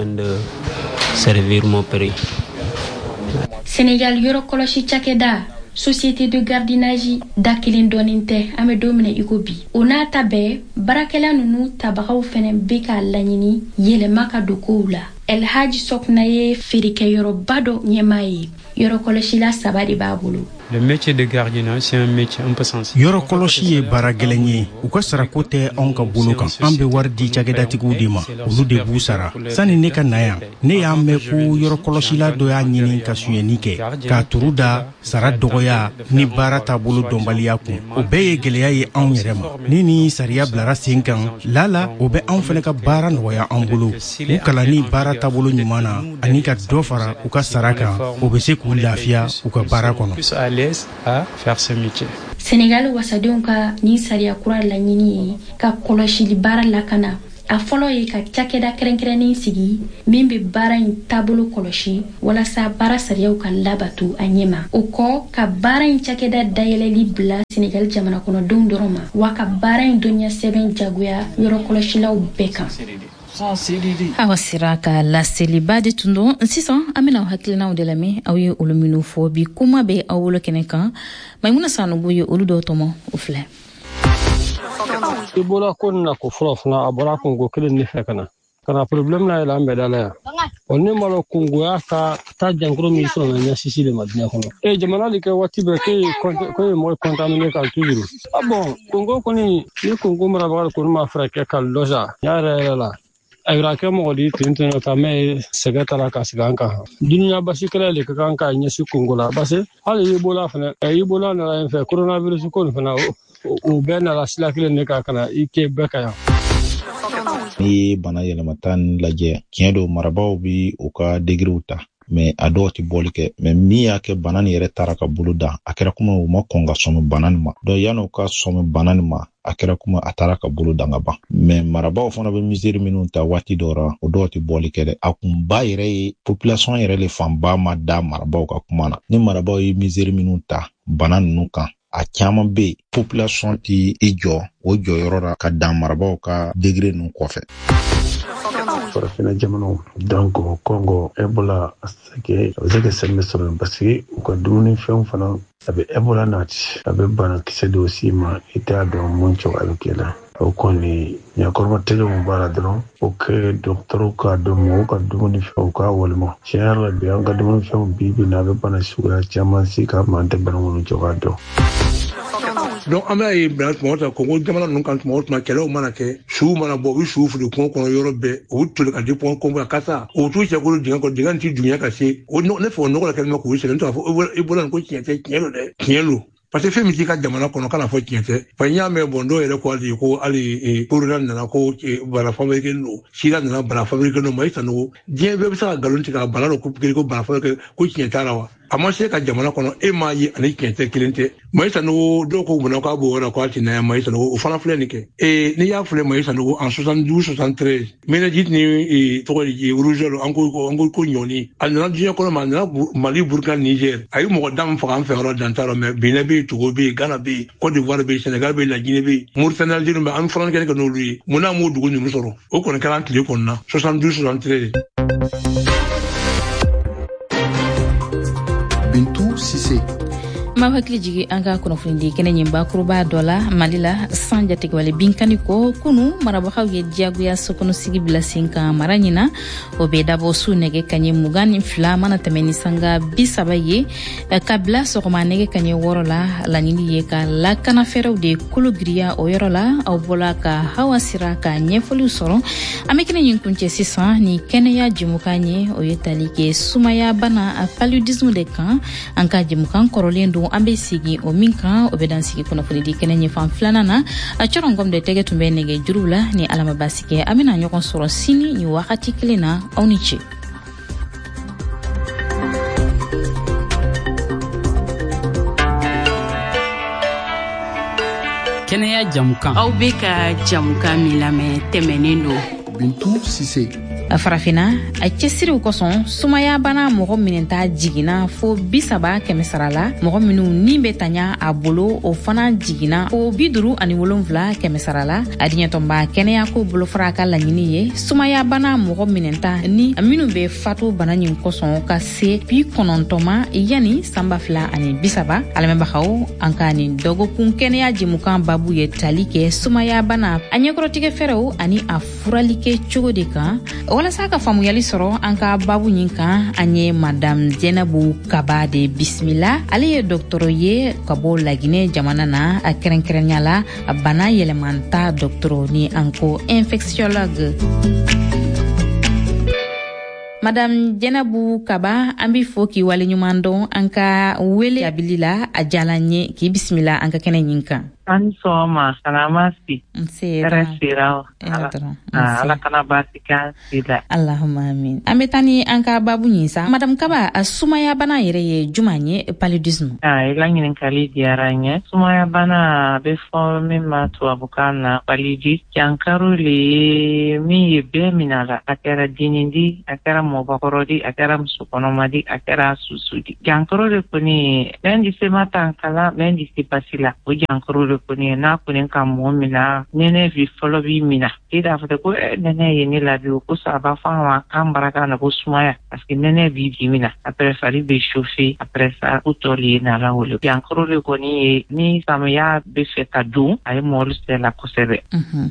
Senegal yɔrɔ kɔlɔsi cakɛda société de gardiennage da kelen dɔɔnin tɛ an bɛ don min na i ko bi. O n'a ta bɛɛ, baarakɛla ninnu tabagaw fɛnɛ bɛ k'a laɲini yɛlɛma ka don kow la. Elhaji Sɔkuna ye feerekɛyɔrɔba dɔ ɲɛmaa ye. Yɔrɔ kɔlɔsila saba de b'a bolo. Le métier de gardiennage, c'est un métier un peu sensible. Yɔrɔ kɔlɔsi ye baara gɛlɛn ye. U ka sarako tɛ anw ka bolo kan. An bɛ wari di cakɛdatigiw de ma, olu de b'u sara. Sani ne ka na yan, ne y'a mɛn ko yɔrɔ kɔlɔsila dɔ y'a ɲini ka sonyɛni kɛ, k'a turu da sara dɔgɔya ni baara taabolo dɔnbaliya kun. O bɛɛ ye gɛlɛya ye anw yɛrɛ ma. Ni ni sariya bilara sen kan, lala o bɛ anw fana ka baara nɔgɔya an bolo. U kalanni baara taabolo ɲuman na ani ka dɔ fara u ka sara kan, o bɛ se k'u lafiya u ka baara kɔnɔ. L'aise à faire ce métier. Senegal wasadenw ka nin sariya kura laɲini ye ka kɔlɔsili baara lakana. A fɔlɔ ye ka cakɛda kɛrɛnkɛrɛnnen sigi min bɛ baara in taabolo kɔlɔsi walasa baara sariyaw ka labato a ɲɛma. O kɔ, ka baara in cakɛda dayɛlɛli bila Senegal jamana kɔnɔdenw dɔrɔn ma, wa ka baara in dɔnniya sɛbɛn jagoya yɔrɔ kɔlɔsilaw bɛɛ kan. Awa sera ka laseliba de tun don. Sisan an bɛna aw hakilinaw de lamɛn, aw ye olu minnu fɔ bi kuma bɛ aw bolo kɛnɛ kan. Maimuna Sanogo ye olu dɔw tɔmɔ, o filɛ. Ebola ko nin na ko fɔlɔ fana a bɔra kungo kelen de fɛ ka na ka na problème na yɛlɛ an bɛɛ da la yan. Ɔ ne ma lɔn kungoya ka taa jankaro min sɔrɔ na ɲɛsisi de ma diɲɛ kɔnɔ. E jamana de kɛ waati bɛɛ k'e ye k'e ye mɔgɔ contaminé kan toujours. Ah bon, Congo kɔni ni Congo marabaga kɔni ma fɛɛrɛ kɛ ka lɔ sa yɛrɛ yɛrɛ la. A kɛ mɔgɔ di ten ten ta mɛ sɛgɛ taara ka sigi an kan. Dunuya basi kɛlɛ de ka kan ka ɲɛsin Kongo la, parce que hali Ebola fana, Ebola nana yen fɛ, coronavirus ko nin fana o bɛɛ nana sira kelen de kan ka na i kɛ bɛɛ ka yan. N'i ye bana yɛlɛmata nin lajɛ, tiɲɛ don marabaaw bi u ka degerew ta, mais a dɔw tɛ bɔli kɛ. Mais min y'a kɛ bana nin yɛrɛ taara ka bolo dan, a kɛra komi u ma kɔn ka sɔmi bana nin ma. Donc yan'u ka sɔmi bana nin ma, a kɛra komi a taara ka bolo dan ka ban. Mais marabaaw fana bɛ misiri minnu ta waati dɔw la, o dɔw tɛ bɔli kɛ dɛ. A kunba yɛrɛ ye population yɛrɛ le fanba ma da marabaaw ka kuma na. Ni marabaaw ye misiri minnu ta bana ninnu kan, a caman bɛ yen population ti i jɔ o jɔyɔrɔ la ka dan marabaaw ka degré ninnu kɔfɛ. Farafinna jamanaw donc Congo Ebola a se kɛ a bɛ se ka sɛmɛ sɔrɔ parce que u ka dumunifɛnw fana a bɛ Ebola nati, a bɛ banakisɛ dɔw s'i ma i t'a dɔn mun cogoya bɛ k'i la. O kɔni ɲakɔrɔba tɛgɛ mun b'a la dɔrɔn o kɛ dɔgɔtɔrɔw k'a dɔn mɔgɔw ka dumunifɛnw k'a walima tiɲɛ yɛrɛ la bi an ka dumunifɛnw bi bi in na a bɛ bana suguya caman si k'a ma an tɛ bana minnu cogoya dɔn. Donc an b'a ye bila tuma o tuma Kongo jamana ninnu kan, tuma o tuma kɛlɛw mana kɛ, suw mana bɔ, u bɛ suw fili kungo kɔnɔ yɔrɔ bɛɛ, u bɛ toli ka di kungo kɔnɔ kasa, u t'u cɛ kolo dingɛ kɔnɔ, dingɛ in ti dunya ka se o. Ne fɛ o nɔgɔ la kɛlen bɛ k'u sɛgɛn. N t'a fɔ Ebola nin ko tiɲɛ tɛ, tiɲɛ don dɛ, tiɲɛ don. Parce que fɛn min t'i ka jamana kɔnɔ kana fɔ tiɲɛ tɛ. Fa n y'a mɛn bɔn dɔw yɛrɛ ko hali ko hali corona nana ko bana fabriqué don, sida nana bana fabriqué don. Mayi Sanogo, diɲɛ bɛɛ bɛ se ka nkalon tigɛ ka bana dɔ ko ko bana fabriqué ko tiɲɛ t'a la wa? A ma se ka jamana kɔnɔ, e m'a ye ani tiɲɛ tɛ kelen tɛ. Mayi Sanogo dɔw ko munna k'a b'o yɔrɔ k'a ti na yan. Mayi Sanogo o fana filɛ nin kɛ. Ee n'i y'a filɛ Mayi Sanogo en soixante-douze soixante-treize méningite ni tɔgɔ di rougeole, an ko an ko ko ɲɔni a nana diɲɛ kɔnɔ ma, a nana Mali, Burkina, Niger, a ye mɔgɔ dan faga an fɛ yɔrɔ dan t'a rɔ. Mais Benin bɛ yen, Togo bɛ yen, Ghana bɛ yen, Côte d'Ivoire bɛ yen, Sénégal bɛ yen, La Guinée bɛ yen, Mauritanie, Algérie bɛ yen, an fana kɛlen kɛ n'olu ye. Munna an m'o dugu ninnu sɔrɔ? O kɔni kɛra an tile kɔnɔna soixante-douze soixante-treize. Bintu Sise. Ma hakili jigi an ka kunnafonidi kɛnɛ ɲin bakuruba dɔ la Mali la, san jatigɛwale binkani ko kunu marabagaw ye diyagoya sokɔnɔsigi bila sen kan mara ɲina. O bɛ dabɔ su nɛgɛ kaɲɛ mugan ni fila mana tɛmɛ ni sanga bi saba ye ka bila sɔgɔma nɛgɛ kaɲɛ wɔɔrɔ la. Laɲini ye ka lakana fɛɛrɛw de kolo giriya o yɔrɔ la. Aw bɔla ka Hawa Sira ka ɲɛfɔliw sɔrɔ. An bɛ kɛnɛ ɲin kuncɛ sisan ni kɛnɛya jɛmukan ye, o ye tali kɛ sumaya bana paludisme de kan. An ka jɛmukan kɔrɔlen don, an bɛ sigi o min kan, o bɛ dan sigi kunnafonidi kɛnɛ ɲɛfan filanan na. A cɔrɔngɔm de tɛgɛ tun bɛ nɛgɛ juruw la. Ni Ala ma baasi kɛ, an bɛna ɲɔgɔn sɔrɔ sini ni wagati kelen na. Aw ni ce. Kɛnɛya jamukan. Aw bɛ ka jamukan min lamɛn tɛmɛnen don. Bintu Sise. Farafinna a cɛsiriw kosɔn sumaya bana mɔgɔ minɛta jiginna fo bi saba kɛmɛ sara la. Mɔgɔ minnu ni bɛ taɲa a bolo, o fana jiginna fo bi duuru ani wolonfila kɛmɛ sara la. A diɲɛtɔnba kɛnɛyako bolofara ka laɲini ye sumaya bana mɔgɔ minɛta ni minnu bɛ fatu bana nin kosɔn ka se bi kɔnɔntɔn ma yanni san ba fila ani bi saba. Alamɛnbagaw, an ka nin dɔgɔkun kɛnɛya jɛmukan babu ye tali kɛ sumaya bana a ɲɛkɔrɔtigɛ fɛɛrɛw ani a furalikɛ cogo de kan. Walasa ka faamuyali sɔrɔ an ka babu ɲin kan, an ye Madame Jɛnɛbu Kaba de bisimila. Ale ye dɔgɔtɔrɔ ye ka bɔ Laginɛ jamana na, a kɛrɛnkɛrɛnya la bana yɛlɛmanta dɔgɔtɔrɔ ni an ko infectiologue. Madame Jɛnɛbu Kaba, an b'i fo k'i waleɲuman dɔn an ka wele jabili la. A diyala n ye k'i bisimila an ka kɛnɛ ɲin kan. An sɔgɔma, salama si. Nse. Hɛrɛ sira. Ala kana baasi k'an si la. Allahumma amin. An bɛ taa ni an ka babu ɲin sa. Madame Kaba, sumaya bana yɛrɛ ye juman ye, paludisme? Ah, i la ɲininkali diyara n ye. Sumaya bana a bɛ fɔ min ma tubabukan na paludisme. Jankaro le ye min ye bɛɛ minɛ a la. A kɛra dennin di, a kɛra mɔgɔkɔrɔ di, a kɛra musokɔnɔma di, a kɛra susu di. Jankaro de kɔni, mɛn di se ma tankala, mɛn di se basi la. O jankaro de kɔni n'a kɔni ka mɔgɔ mina, nɛnɛ bi fɔlɔ b'i mina. I b'a fɔ ko nɛnɛ ye ne la bi, o kosɔn a b'a fɔ an ma k'an baraka na ko sumaya, parce que nɛnɛ b'i bi mina. Après fari bɛ chauffer, après ça ko tɔ le ye nala wele. Jankaro de kɔni ye ni samiya bɛ fɛ ka don, a ye mɔgɔlu sɛla kosɛbɛ.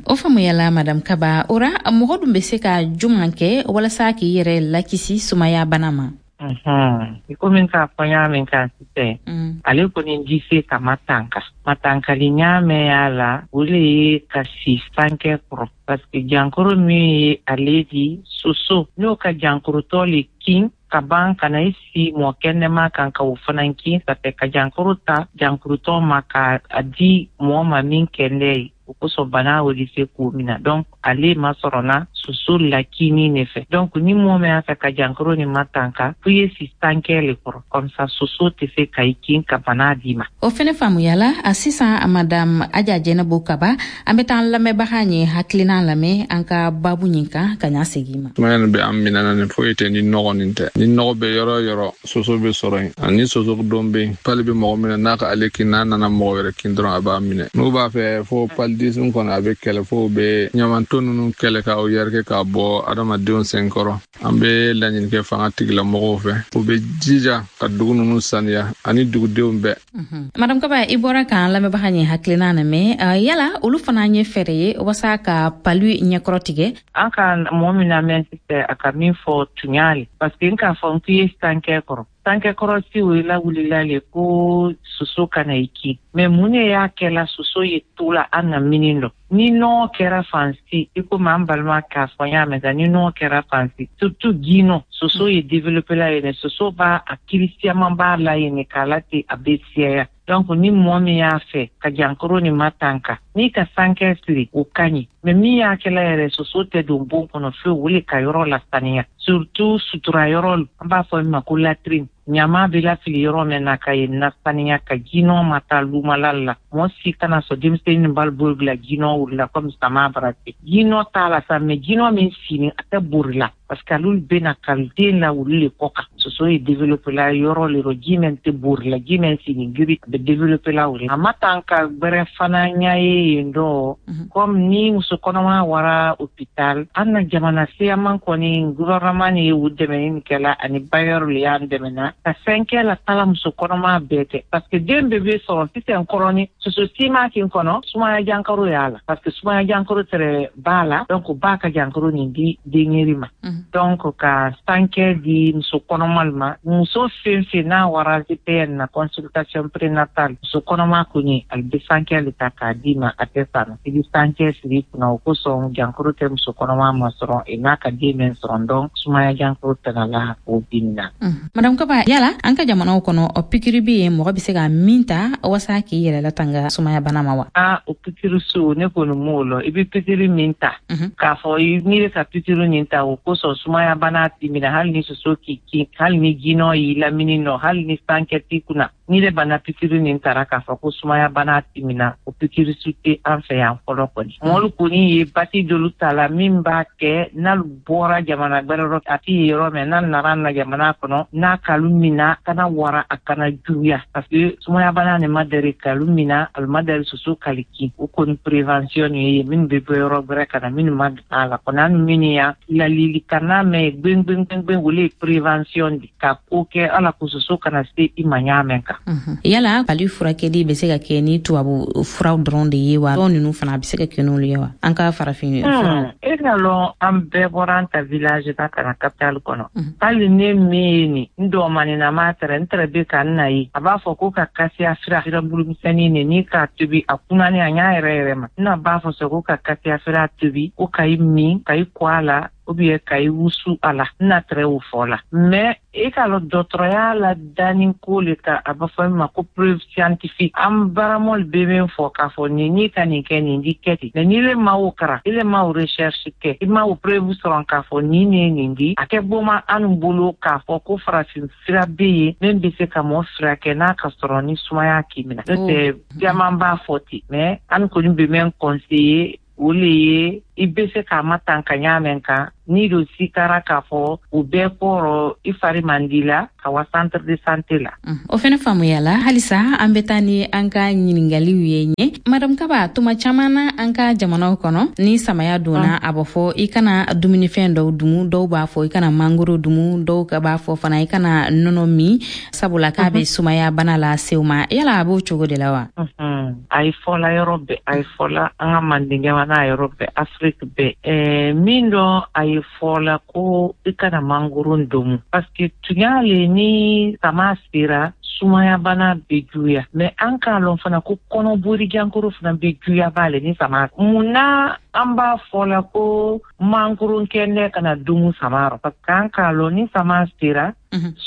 O faamuyala Madame Kaba. O ra mɔgɔ dun bɛ se ka juman kɛ walasa k'i yɛrɛ lakisi sumaya bana ma? I komi k'a fɔ n y'a mɛn kan sisan, ale kɔni di se ka matanka. Matankali ɲa mɛn y'a la, o le ye ka si sankɛ kɔrɔ. Parce que jankaro min ye ale di soso, n'o ka jankorotɔ le kin ka ban ka na i si mɔgɔ kɛnɛma kan ka o fana kin, ça fait ka jankaro ta jankorotɔ ma ka a di mɔgɔ ma min kɛnɛ ye. O kosɔn bana o de se k'o mina. Donc ale ma sɔrɔ na soso lakini ne fɛ. Donc ni mɔgɔ min y'a fɛ ka jankaro ni matanka, fo i ye si sankɛ le kɔrɔ, comme ça soso tɛ se ka i kin ka bana d'i ma. O fɛnɛ faamuyala. A sisan Madame Aja Jɛnɛbu Kaba, an bɛ taa an lamɛnbaga ɲɛ hakilina lamɛn an ka babu ɲin kan ka ɲa segin ma. Sumaya nin bɛ an minɛ na nin foyi tɛ ni nɔgɔ nin tɛ. Ni nɔgɔ bɛ yɔrɔ o yɔrɔ, soso bɛ sɔrɔ yen. Ani soso dɔn bɛ yen, pali bɛ mɔgɔ minɛ n'a ka ale kin, n'a nana mɔgɔ wɛrɛ kin dɔrɔn a b'a minɛ. N'u b'a fɛ fo paludisme kɔnɔ a bɛ kɛlɛ, fo bɛ ɲamanton ninnu kɛlɛ ka o yɛrɛkɛ k'a bɔ adamadenw sen kɔrɔ. An bɛ laɲini kɛ fanga tigilamɔgɔw fɛ, u bɛ jija ka dugu ninnu saniya ani dugudenw bɛɛ. Madame Kaba, i bɔra k'an lamɛnbaga ɲɛ hakilina lamɛn. Yala olu fana ye fɛɛrɛ ye walasa ka palu ɲɛkɔrɔ tigɛ? An ka mɔgɔ min lamɛn sisan, a ka min fɔ tunya le, parce que n k'a fɔ n k'i ye sankɛ kɔrɔ. Sankɛ kɔrɔ si o lawulila le ko soso kana i kin. Mais mun de y'a kɛla soso ye to la an na mini dɔ? Ni nɔgɔ kɛra fan si, i komi an balima k'a fɔ n y'a mɛn ni nɔgɔ kɛra fan si, surtout ginɔ, soso ye développé la yen, soso b'a a kiri siaman b'a la yen k'a la ten a bɛ siyaya. Donc ni mɔgɔ min y'a fɛ ka jankaro ni matanka, n'i ka sankɛ siri o ka ɲi. Mais min y'a kɛla yɛrɛ soso tɛ don bon kɔnɔ fiyewu, o le ka yɔrɔ lasaniya. Surtout sutura yɔrɔ, an b'a fɔ min ma ko latrine. Ɲama bɛ lafili yɔrɔ min na ka yen nasaniya ka jinɔ ma taa lumala la. Mɔgɔ si kana sɔn denmisɛnnin b'a bolo bila jinɔ wulila komi sama bara ten. Jinɔ t'a la sa, mais jinɔ min sini a tɛ bori la. Parce que olu bɛ na ka den la wuli le kɔ kan. Soso ye développé la yɔrɔ le rɔ, ji min tɛ bori la, ji min sini giri a bɛ développé la o de. A ma tan ka gbɛrɛ fana ɲɛ ye yen dɔ. Comme ni muso kɔnɔma wara hôpital, an na jamana siyaman kɔni gouvernement ye u dɛmɛ nin kɛla ani bailleur le y'an dɛmɛ na. Ka fɛn kɛ la tala muso kɔnɔma bɛɛ tɛ. Parce que den bɛɛ bɛ sɔrɔ sisan kɔrɔni soso siman kin kɔnɔ, sumaya jankaro y'a la. Parce que sumaya jankaro tɛrɛ b'a la, donc ba ka jankaro nin di denyɛri ma. Donc ka sankɛ di muso kɔnɔma ma, muso fɛn fɛn n'a wara G P N na consultation prénatale, muso kɔnɔma kɔni ale bɛ sankɛ le ta k'a d'i ma, a tɛ san. I bɛ sankɛ siri i kunna, o kosɔn jankaro tɛ muso kɔnɔma ma sɔrɔ n'a ka den mɛn sɔrɔ, donc sumaya jankaro tɛna la o bin na. Madame Kaba, yala an ka jamanaw kɔnɔ o pikiri bɛ yen mɔgɔ bɛ se ka min ta walasa k'i yɛrɛ latanga sumaya bana ma wa? Ah, o pikiri so ne kɔni m'o lɔ. I bɛ pikiri min ta, k'a fɔ n'i bɛ ka pikiri nin ta o kosɔn sumaya bana t'i minɛ, hali ni soso k'i kin, hali ni jinɔ y'i lamini nɔ, hali ni sankɛ t'i kunna. N'i de bana pikiri nin tara k'a fɔ ko sumaya bana t'i minɛ, o pikiri su tɛ an fɛ yan fɔlɔ kɔni. Mɔlu kɔni ye bati dolu ta la min b'a kɛ n'alu bɔra jamana gbɛrɛ rɔ, a t'i ye yɔrɔ min, n'a nana na jamana kɔnɔ, n'a kalu mina kana wara a kana juguya. Parce que sumaya bana nin ma deli kalu mina, alu ma deli soso kali kin. O kɔni prévention ye minnu bɛ bɔ yɔrɔ gbɛrɛ ka na minnu ma a la kɔni, an minnu ya lalilikanna mɛn gbɛngbɛngbɛngbɛn, o le ye prévention di ka ko kɛ ala ko soso kana se i ma ɲa mɛn kan. matanka. Yala palu furakɛli bɛ se ka kɛ ni tubabu furaw dɔrɔn de ye wa, dɔw ninnu fana a bɛ se ka kɛ n'olu ye wa, an ka farafin furaw? E ka lɔn an bɛɛ bɔra an ta village la ka na capitale kɔnɔ. Hali ne min ye nin n dɔgɔmanin ma tɛrɛ n tɛrɛ bɛ ka n na ye, a b'a fɔ ko ka kasiya fira fira bulumisɛnnin nin ni k'a tobi a kunnani a ɲa yɛrɛ yɛrɛ ma. N na b'a fɔ sɛ ko ka kasiya fira tobi ko ka i min ka i kɔ a la ou bien ka i wusu a la. N na tɛrɛ o fɔ la. Mais e k'a lɔn dɔgɔtɔrɔya la danni ko le ka a b'a fɔ min ma ko preuve scientifique. An baramɔli bɛ min fɔ k'a fɔ nin n'i ka nin kɛ nin di kɛ ten, mais n'i le ma o karan, i le ma o recherche kɛ, i ma o preuve sɔrɔ k'a fɔ nin ne ye nin di, a kɛ boma an bolo k'a fɔ ko farafin fura bɛ yen min bɛ se ka mɔɔ furakɛ n'a ka sɔrɔ ni sumaya k'i minɛ. N'o tɛ caman b'a fɔ ten, mais an kɔni bɛ min conseiller o le ye i bɛ se k'a matanka ɲa mɛn kan n'i don sikara k'a fɔ o bɛɛ kɔrɔ i fari man di la ka wa centre de santé la. O fɛnɛ faamuya la. Halisa an bɛ taa ni an ka ɲininkaliw ye ɲɛ. Madame Kaba, tuma caman na an ka jamanaw kɔnɔ ni samaya donna, a b'a fɔ i kana dumunifɛn dɔw dumu, dɔw b'a fɔ i kana mangoro dumu, dɔw ka b'a fɔ fana i kana nɔnɔ min, sabula k'a bɛ sumaya bana lase u ma. Yala a b'o cogo de la wa? A ye fɔla yɔrɔ bɛɛ, a ye fɔla an ka Manden jamana yɔrɔ bɛɛ, Afrique bɛɛ. Ɛɛ min dɔ a ye fɔla ko i kana mangoro domu, parce que tunya le ni sama sera sumaya bana bɛ juguya. Mais an k'a lɔn fana ko kɔnɔbori jankoro fana bɛ juguya b'ale ni sama. Mun na an b'a fɔ la ko mangoro kɛnɛ kana dumu sama rɔ? Parce que an k'a lɔn ni sama sera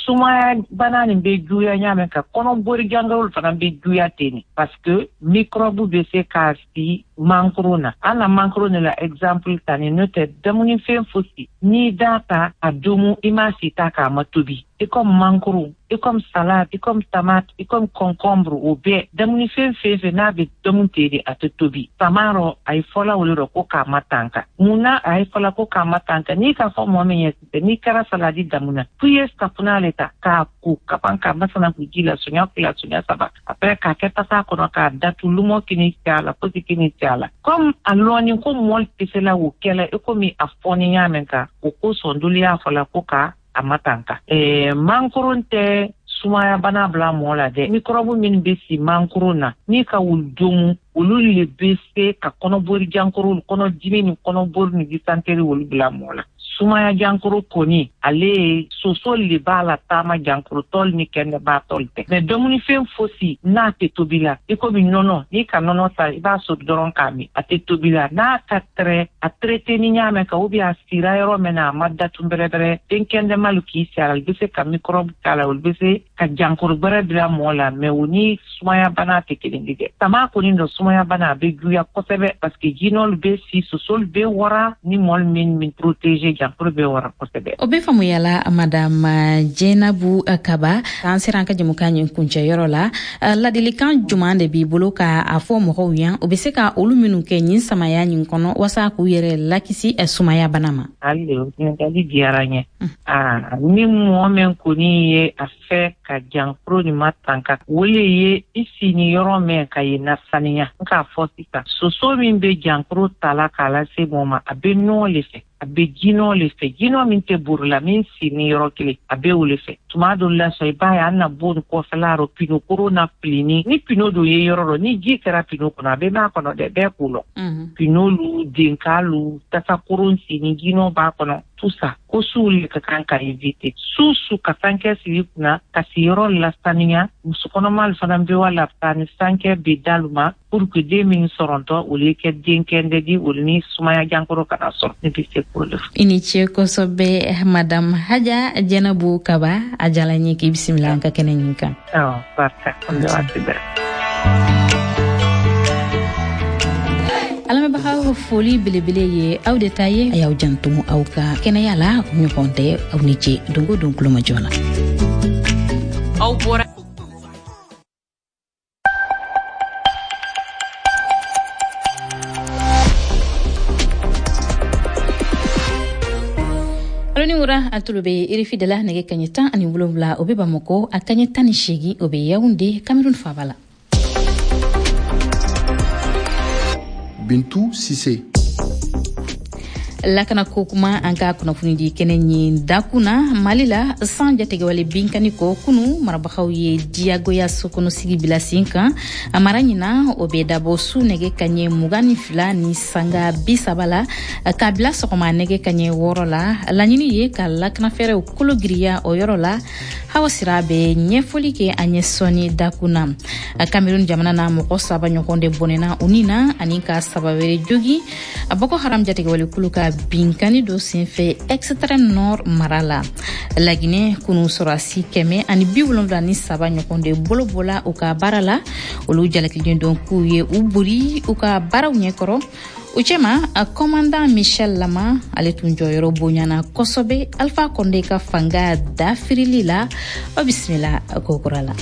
sumaya bana nin bɛ juguya ɲa mɛn ka kɔnɔbori jankoro fana bɛ juguya ten, parce que microbe bɛ se ka si mangoro na. An na mangoro ne la exemple ta ni n'o tɛ dumunifɛn fosi n'i da ta a dumu i ma si ta k'a ma tobi, i comme mangoro, i comme salade, i comme tomate, i comme concombre, o bɛɛ dumunifɛn fɛn fɛn n'a bɛ dumu ten de a tɛ tobi. Sama rɔ a ye fɔla o le rɔ ko k'a matanka. Mun na a ye fɔla ko k'a matanka? N'i k'a fɔ mɔgɔ min ye sisan n'i kɛra saladi damu na, f'i ye safunɛ le ta k'a ko ka ban k'a masana k'u ji la sonya fila sonya saba, après k'a kɛ tasa kɔnɔ k'a datu lumɔ kini cɛ a la fosi kini cɛ a la. Comme a lɔnni ko mɔli tɛ se la o kɛla i komi a fɔni ɲa mɛn kan, o kosɔn dolu y'a fɔ la ko ka a matanka. Ɛɛ mankoron tɛ sumaya bana bila mɔgɔ la dɛ. Microbe min bɛ si mangoro na n'i ka wulu domu, olu le bɛ se ka kɔnɔbori jankoro, kɔnɔdimi ni kɔnɔbori ni dysenterie olu bila mɔgɔ la. Sumaya jankoro kɔni ale ye soso le b'a la taama jankoro tɔli ni kɛnɛba tɔli tɛ. Mais dumunifɛn fosi n'a tɛ tobi la, i komi nɔnɔ, n'i ka nɔnɔ ta i b'a soli dɔrɔn k'a min, a tɛ tobi la. N'a ka tɛrɛ a traité ni ɲa mɛn kan ou bien a sira yɔrɔ min na a ma datu bɛrɛbɛrɛ, den kɛnɛmalu k'i si a la, olu bɛ se ka microbe k'a la, olu bɛ se ka jankoro gbɛrɛ bila mɔgɔ la, mais o ni sumaya bana tɛ kelen ye dɛ. Sama kɔni dɔ sumaya bana a bɛ juguya kosɛbɛ, parce que jinɔlu bɛ si, sosolu bɛ wara, ni mɔli min min protéger jankoro bɛ wara kosɛbɛ. O bɛ faamuya la. Madame Jɛnabu Kaba, an sera an ka jamukan ɲin kuncɛyɔrɔ la. Ladilikan juman de b'i bolo ka a fɔ mɔgɔw ye o bɛ se ka olu minnu kɛ nin samaya ɲin kɔnɔ walasa k'u yɛrɛ lakisi sumaya bana ma? Hali o ɲininkali diyara n ye. Aa ni mɔgɔ min kɔni ye a fɛ ka jankoro nin matanka, o le ye i sini yɔrɔ min ka ye nasaniya. N k'a fɔ sisan soso min bɛ jankoro ta la k'a lase mɔgɔ ma, a bɛ nɔgɔ le fɛ, a bɛ jinɔ le fɛ, jinɔ min tɛ buru la, min sini yɔrɔ kelen, a bɛ o le fɛ. Tuma dɔ la sɔn i b'a ye an na bon kɔfɛla rɔ pino koro na filini, ni pino dɔ ye yɔrɔ rɔ, ni ji kɛra pino kɔnɔ a bɛ mɛn a kɔnɔ dɛ, bɛɛ k'o lɔn. Pino lu denka lu tasa koron sini jinɔ b'a kɔnɔ, tout ça ko suw le ka kan ka éviter. Su su ka sankɛ sigi kunna ka siyɔrɔ lasaniya. Muso kɔnɔma fana bɛ wa la ni sankɛ bɛ dalu ma pour que den min sɔrɔntɔ olu kɛ den kɛndɛ di, olu ni sumaya jankoro kana sɔrɔ. Ne bɛ se k'o de fɔ. I ni ce kosɛbɛ, Madame Haja Jɛnabu Kaba. A diyara n ye k'i bisimila an ka kɛnɛ ɲin kan. Awɔ, barika an bɛ waati bɛɛ. Alamɛnbagaw, foli belebele ye aw de ta ye. A y'aw janto aw ka kɛnɛya la. Ɲɔgɔn tɛ aw ni ce don o don kulomajɔ la. Aw bɔra Alo ni wura, a tulo bɛ R F I de la. Nɛgɛ kaɲɛ tan ani wolonwula o bɛ Bamakɔ, a kaɲɛ tan ni seegin o bɛ Yaoundé, Cameroun faaba la. Bintu Sise. Lakana ko kuma an ka kunnafonidi kɛnɛ ɲin dakun na Mali la, san jatigɛwale binkani kɔ, kunu marabagaw ye diyagoya sokɔnɔsigi bila sen kan a mara ɲina. O bɛ dabɔ su nɛgɛ kaɲɛ mugan ni fila ni sanga bi saba la k'a bila sɔgɔma nɛgɛ kaɲɛ wɔɔrɔ la. Laɲini ye ka lakanafɛɛrɛw kolo giriya o yɔrɔ la. Hawa Sira bɛ ɲɛfɔli kɛ an ye sɔɔni dakun na. Cameroun jamana na, mɔgɔ saba ɲɔgɔn de bɔnɛna u ni na ani ka saba wɛrɛ jogi Boko Haram jatigɛwale kulu ka binkani dɔ senfɛ Extrême Nord mara la. Laginɛ, kunu sɔrɔdasi kɛmɛ ani bi wolonwula ni saba ɲɔgɔn de bolo bɔla u ka baara la. Olu jalakilen don k'u ye u bori u ka baaraw ɲɛkɔrɔ. U cɛma, commandant Michel Lama, ale tun jɔyɔrɔ bonyana kosɛbɛ Alpha Condé ka fanga dafirili la. O bisimila kokura la.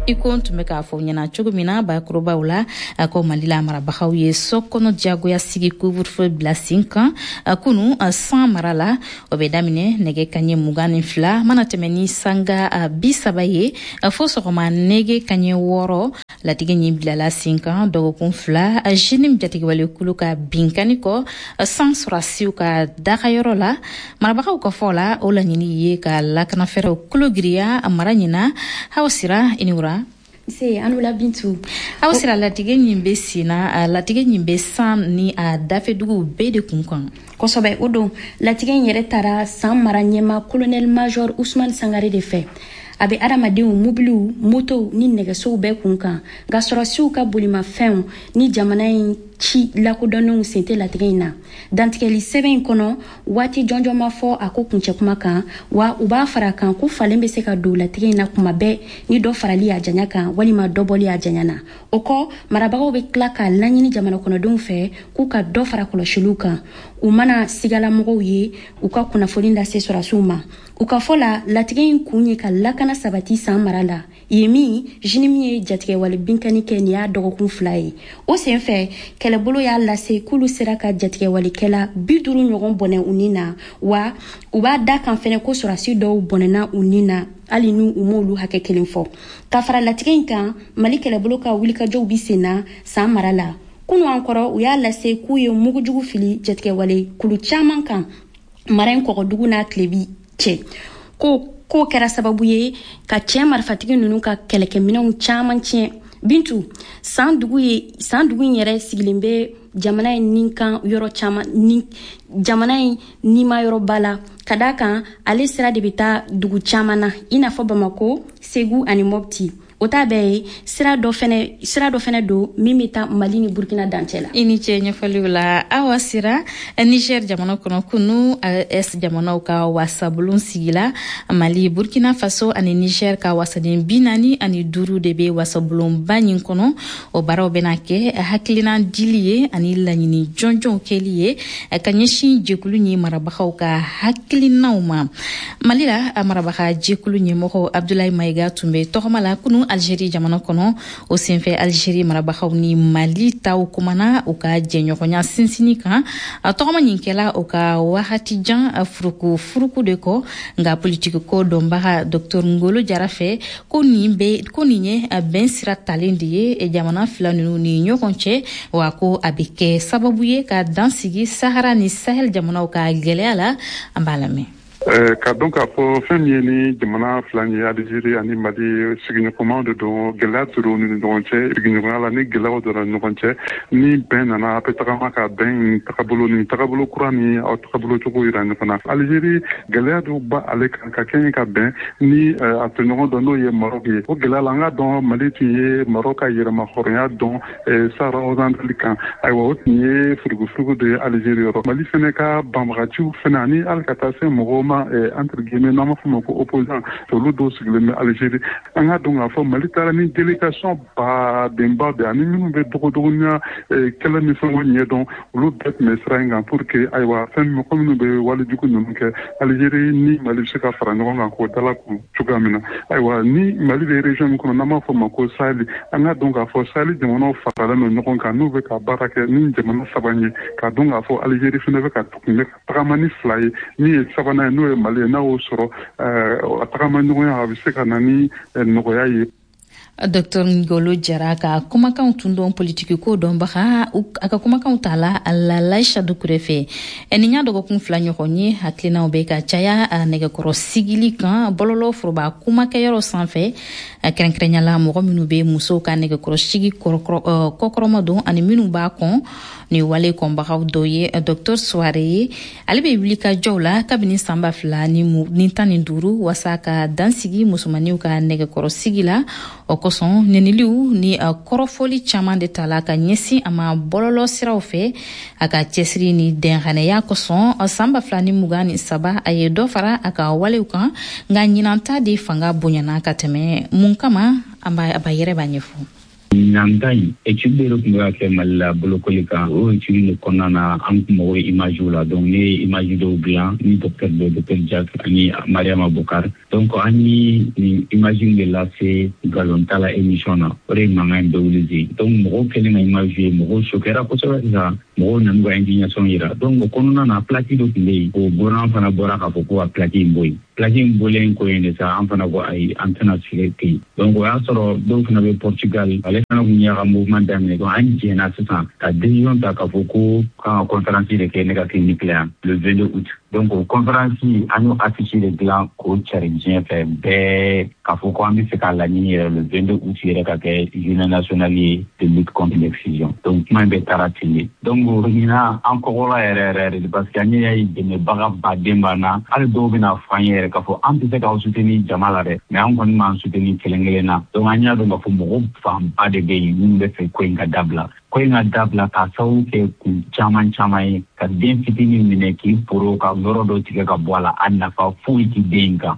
I ko n tun bɛ k'a fɔ ɲɛna cogo min na bakurubaw la, ko Mali la, marabagaw ye so kɔnɔ diyagoya sigi couvre-feu bila sen kan kunu san mara la. O bɛ daminɛ nɛgɛ kaɲɛ mugan ni fila mana tɛmɛ ni sanga bi saba ye fo sɔgɔma nɛgɛ kaɲɛ wɔɔrɔ. Latigɛ ɲin bilala sen kan dɔgɔkun fila JNIM jatigɛwale kulu ka binkani kɔ san sɔrɔdasiw ka dagayɔrɔ la. Marabagaw ka fɔ la, o laɲini ye ka lakanafɛɛrɛw kolo giriya mara ɲina. Hawa Sira, i ni wura. Se Anula Bintu. Aw Sira, latigɛ ɲin bɛ sen na, latigɛ ɲin bɛ san ni a dafɛduguw bɛɛ de kun kan. Kosɛbɛ, o don latigɛ in yɛrɛ taara san mara ɲɛma colonel major Usman Sangare de fɛ. A bɛ adamadenw, mobiliw, motow ni nɛgɛsow bɛɛ kun kan, nka sɔrɔdasiw ka bolimafɛnw ni jamana in ci lakodɔnnenw sen tɛ latigɛ in na. Dantigɛli sɛbɛn in kɔnɔ, waati jɔnjɔn ma fɔ a ko kuncɛ kuma kan, wa u b'a fara kan ko falen bɛ se ka don latigɛ in na kuma bɛɛ ni dɔ farali a janya kan walima dɔ bɔli a janya na. O kɔ, marabagaw bɛ tila k'a laɲini jamana kɔnɔdenw fɛ k'u ka dɔ fara kɔlɔsiliw kan, u mana sigalamɔgɔw ye, u ka kunnafoni lase sɔrɔdasiw ma. U ka fɔ la, latigɛ in kun ye ka lakana sabati san mara la yen min JNIM ye jatigɛwale binkani kɛ nin y'a dɔgɔkun fila ye. O senfɛ, kɛlɛbolo y'a lase k'olu sera ka jatigɛwalekɛla bi duuru ɲɔgɔn bɔnɛ u ni na, wa u b'a da kan fɛnɛ ko sɔrɔdasi dɔw bɔnɛna u ni na, hali n'u u m'olu hakɛ kelen fɔ. Ka fara latigɛ in kan, Mali kɛlɛbolo ka wulikajɔw bi sen na san mara la. Kunu an kɔrɔ, u y'a lase k'u ye mugujugu fili jatigɛwale kulu caman kan mara in kɔgɔdugu n'a tilebi cɛ, ko k'o kɛra sababu ye ka cɛ marifatigi ninnu ka kɛlɛkɛminɛnw caman tiɲɛ. Bintu, san dugu ye san dugu in yɛrɛ sigilen bɛ jamana in nin kan yɔrɔ caman ni jamana in nima yɔrɔba la, ka d'a kan ale sira de bɛ taa dugu caman na, i n'a fɔ Bamako, Segu ani Mopti. O t'a bɛɛ ye, sira dɔ fɛnɛ sira dɔ fɛnɛ don min bɛ taa Mali ni Burkina dancɛ la. I ni ce ɲɛfɔliw la, Awa Sira. Niger jamana kɔnɔ, kunu A E S jamanaw ka wasabulon sigila. Mali, Burkina Faso ani Niger ka wasaden bi naani ani duuru de bɛ wasabulonba ɲin kɔnɔ. O baaraw bɛna kɛ hakilina dili ye ani laɲini jɔnjɔnw kɛli ye ka ɲɛsin jɛkulu ɲi marabagaw ka hakilinaw ma. Mali la, a marabaga jɛkulu ɲɛmɔgɔ Abdulayi Mayiga tun bɛ tɔgɔma la kunu Algérie jamana kɔnɔ. O senfɛ, Algérie marabagaw ni Mali taw kumana u ka jɛɲɔgɔnya sinsinni kan. A tɔgɔma ɲin kɛla u ka wagati jan furuku furuku de kɔ. Nka politiki ko dɔnbaga Docteur Ngolo Jara fɛ, ko nin bɛ ko nin ye bɛn sira talen de ye jamana fila ninnu ni ɲɔgɔn cɛ, wa ko a bɛ kɛ sababu ye ka dan sigi Sahara ni Sahel jamanaw ka gɛlɛya la. An b'a lamɛn. Ka dɔn k'a fɔ fɛn min ye ni jamana fila ye, Alizeri ani Mali, sigiɲɔgɔnmaw de don. Gɛlɛya tora ni ɲɔgɔn cɛ sigiɲɔgɔnya la. Ni gɛlɛyaw donna ɲɔgɔn cɛ, ni bɛn nana, a bɛ tagama ka bɛn tagabolo ni tagabolo kura ni aw tagabolo cogo yira ɲɔgɔn na. Alizeri, gɛlɛya dɔw ba ale kan ka kɛɲɛ ka bɛn ni a tɔɲɔgɔn dɔ, n'o ye Maroc ye. O gɛlɛya la, an ka dɔn Mali tun ye Maroc ka yɛrɛma hɔrɔnya dɔn Sahara occidental kan. Ayiwa, o tun ye furugufurugu de ye Alizeri yɔrɔ. Mali fɛnɛ ka banbagaciw fɛnɛ ani hali ka taa se mɔgɔw ma, entre guillemets, n'an b'a fɔ ma ko opposant, olu dɔw sigilen bɛ Alizeri. An ka dɔn k'a fɔ Mali taara ni délégation badenba de ani minnu bɛ dogodogonya kɛlɛ ni fɛnw ɲɛdɔn, olu bɛɛ tun bɛ sira in kan pour que, ayiwa, fɛn mɔgɔ minnu bɛ walejugu ninnu kɛ, Alizeri ni Mali bɛ se ka fara ɲɔgɔn kan k'o dala kun cogoya min na. Ayiwa, ni Mali bɛ région min kɔnɔ, n'an b'a fɔ ma ko Sahel, an ka dɔn k'a fɔ Sahel jamanaw faralen don ɲɔgɔn kan n'u bɛ ka baara kɛ ni jamana saba ye. K'a dɔn k'a fɔ Alizeri fɛnɛ bɛ ka tun bɛ ka tagama ni fila ye, min ye sabanan ye, n'o ye Mali ye. N'a y'o sɔrɔ, a tagama ɲɔgɔnya, a bɛ se ka na ni nɔgɔya ye. Docteur Ngolo Jara ka kumakanw tun dɔn politiki ko dɔnbaga, a ka kumakanw ta la Lalaïcha Doucouré fɛ. Nin y'a dɔgɔkun fila ɲɔgɔn ye, hakilinaw bɛ ka caya nɛgɛkɔrɔ sigili kan bɔlɔlɔ foroba kumakɛyɔrɔ sanfɛ, kɛrɛnkɛrɛnya la mɔgɔ minnu bɛ musow ka nɛgɛkɔrɔ sigi kɔkɔrɔma don ani minnu b'a kɔn. Ni wale kɔnbagaw dɔ ye Docteur Soare ye. Ale bɛ wuli ka jɔw la kabini san ba fila ni tan ni duuru wasa ka dansigi musomaninw ka nɛgɛkɔrɔ sigi la. O kosɔn, nɛniliw ni kɔrɔfɔli caman de ta la ka ɲɛsin a ma bɔlɔlɔ siraw fɛ. A ka cɛsiri ni dɛnganiya kosɔn, san ba fila ni mugan ni saba, a ye dɔ fara a ka walew kan, nka ɲinanta de fanga bonyana ka tɛmɛ. Mun kama? An b'a yɛrɛ b'a ɲɛfɔ. Ɲinan ta in, étude de tun bɛ ka kɛ Mali la bolokoli kan. O étude de kɔnɔna na, an tun mago bɛ image la. Donc ne ye image dɔw dilan ni docteur dɔ, docteur Jack ani Mariama Bokar. Donc an ye nin image de lase nkalon la émission na, o de ye mankan in bɛɛ wuli ten. Donc mɔgɔw kɛlen ka image ye, mɔgɔw choquera kosɛbɛ. Sisan mɔgɔw nan'u ka indignation yira. Donc o kɔnɔna na, plaque dɔ tun bɛ yen, o gouvernement fana bɔra k'a fɔ ko ka plaque in bɔ yen. Plaque in bɔlen ko yen de sa, an fana ko ayi, an tɛna sigi ten. Donc o y'a sɔrɔ dɔw fana bɛ Portugal, ale fana kun y'a ka mouvement daminɛ. Donc an jɛna sisan ka décision ta k'a fɔ ko kan ka conférence de kɛ ne ka clinique la yan le vingt-deux août. Donc o conférence, an y'o affiche de dilan k'o cari diɲɛ fɛ bɛɛ, k'a fɔ ko an bɛ fɛ k'a laɲini yɛrɛ le vingt-deux août yɛrɛ ka kɛ journée nationale ye de lutte contre l'excision. Donc kuma in bɛɛ taara ten de. Donc ɲinan, an kɔgɔla yɛrɛ yɛrɛ de, parce que an y'a ye dɛmɛbaga baden b'an na. Hali dɔw bɛna fɔ an ye yɛrɛ k'a fɔ an tɛ se k'aw soutenir jama la dɛ, mais an kɔni b'an soutenir kelen kelen na. Donc an y'a dɔn k'a fɔ mɔgɔ fanba de bɛ yen minnu bɛ fɛ ko in ka dabila, ko in ka dabila, k'a sababu kɛ kun caman caman ye. Ka den fitinin minɛ k'i poro ka yɔrɔ dɔ tigɛ ka bɔ a la, a nafa foyi ti den in kan.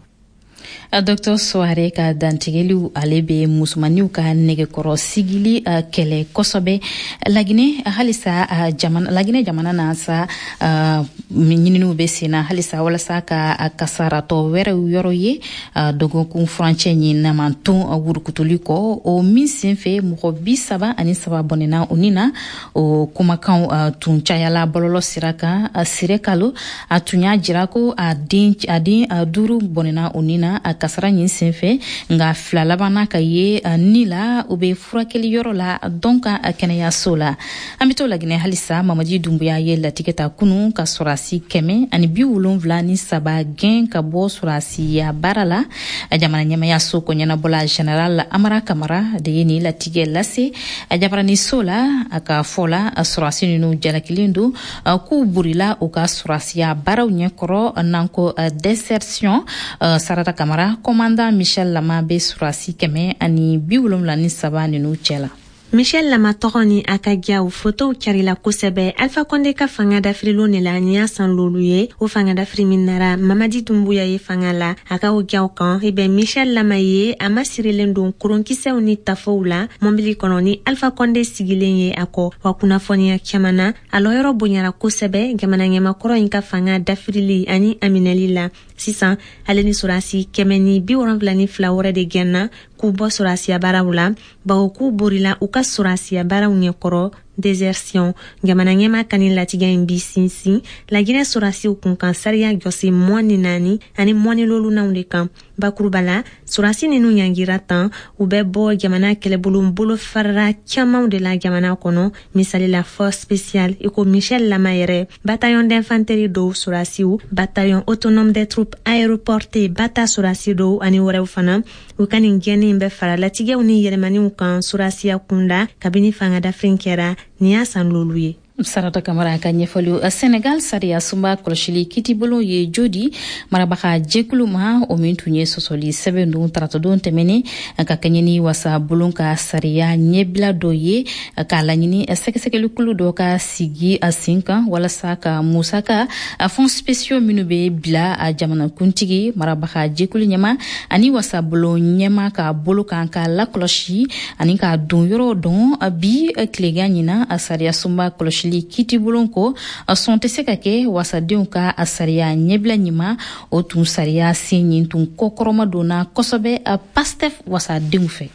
Docteur Soare ka dantigɛliw, ale bɛ musomaninw ka nɛgɛkɔrɔ sigili kɛlɛ kosɛbɛ Laginɛ halisa. Jamana, Laginɛ jamana na sa, ɲininiw bɛ sen na halisa walasa ka kasaratɔ wɛrɛw yɔrɔ ye dɔgɔkun furancɛ ɲin namanton wurukutuli kɔ, o min sen fɛ mɔgɔ bi saba ani saba bɔnɛna o ni na. O kumakanw tun cayala bɔlɔlɔ sira kan. Sire kalo a tun y'a jira ko a den a den duuru bɔnɛna o ni na a kasara ɲin senfɛ, nka fila labanna ka ye ni la, u bɛ furakɛli yɔrɔ la dɔn ka kɛnɛyaso la. An bɛ to Laginɛ halisa. Mamadi Dunbuya ye latigɛ ta kunu ka sɔrɔdasi kɛmɛ ani bi wolonwula ni saba gɛn ka bɔ sɔrɔdasiya baara la. Jamana ɲɛmayaso ko ɲɛnabɔla général Amara Kamara de ye nin latigɛ lase jabaraniso la. A ka fɔ la, sɔrɔdasi ninnu jalakilen don k'u burila u ka sɔrɔdasiya baaraw ɲɛkɔrɔ, n'an ko désertion. Sarata Kamara, commandant Michel Lama bɛ sɔrɔdasi kɛmɛ ani bi wolonwula ni saba ninnu cɛ la. Michel Lama tɔgɔ ni a ka jaw fotow carila kosɛbɛ Alpha Condé ka fanga dafirilon de la. Nin y'a san lolu ye, o fanga dafiri min nara Mamadi Dumbuya ye fanga la. A ka o jaw kan, i bɛ Michel Lama ye, a masirilen don koronkisɛw ni tafow la mɔbili kɔnɔ ni Alpha Condé sigilen ye a kɔ. Wa kunnafoniya caman na, a lɔyɔrɔ bonyara kosɛbɛ jamana ɲɛmakɔrɔ in ka fanga dafirili ani a minɛli la. Sisan ale ni sɔrɔdasi kɛmɛ ni bi wolonfila ni fila wɛrɛ de gɛnna k'u bɔ sɔrɔdasiya baaraw la, bawo k'u borila u ka sɔrɔdasiya baaraw ɲɛkɔrɔ, désertion. Jamana ɲɛma ka nin latigɛ in bi sinsin Laginɛ sɔrɔdasiw kunkan sariya jɔsi mɔn ni naani ani mɔni lolunanw de kan. Bakuruba la, sɔrɔdasi ninnu ɲangira tan, u bɛ bɔ jamana kɛlɛbolo bolo farara camanw de la jamana kɔnɔ, misali la force spéciale i ko Michel Lama yɛrɛ, bataillon d'infanterie dɔw sɔrɔdasiw, bataillon autonome des troupes aéroportées bata sɔrɔdasi dɔw ani wɛrɛw fana. U ka nin gɛnni in bɛ fara latigɛw ni yɛlɛmaniw kan sɔrɔdasiya kunda kabini fanga dafiri kɛra. Nin y'a san lolu ye. Sarata Kamara ka ɲɛfɔliw. Senegal sariya sunba kɔlɔsili kitibolo ye jodi marabaga jɛkulu ma, o min tun ye sɔsɔli sɛbɛn don taratadon tɛmɛnen ka kɛɲɛ ni wasa bulon ka sariya ɲɛbila dɔ ye, k'a laɲini sɛgɛsɛgɛlikulu dɔ ka sigi a sen kan walasa ka musaka fonds spéciaux minnu bɛ bila a jamanakuntigi, marabaga jɛkulu ɲɛma ani wasabulon ɲɛma ka bolo kan ka lakɔlɔsi ani k'a don yɔrɔ dɔn. Bi tilegan ɲina, sariya sunba kɔlɔsili kitibulon ko sɔn tɛ se ka kɛ wasadenw ka a sariya ɲɛbila ɲuman. O tun sariya sen ɲin tun kɔkɔrɔma donna kosɛbɛ Pastef wasadenw fɛ.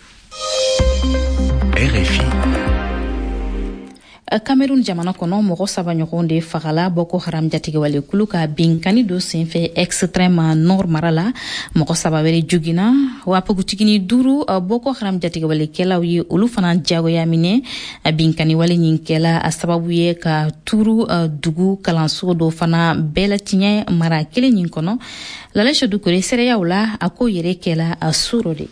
R F I. Cameroun jamana kɔnɔ, mɔgɔ saba ɲɔgɔn de fagala Boko Haram jatigɛwale kulu ka binkani dɔ senfɛ Extrême Nord mara la. Mɔgɔ saba wɛrɛ jogina wa npogotigini duuru, Boko Haram jatigɛwalekɛlaw ye olu fana jagoya minɛ. Binkani wale ɲin kɛla a sababu ye ka turu dugu kalanso dɔ fana bɛɛ latiɲɛ mara kelen ɲin kɔnɔ. Lalɛsɛ Dukure seereyaw la, a ko yɛrɛ kɛla a suro de.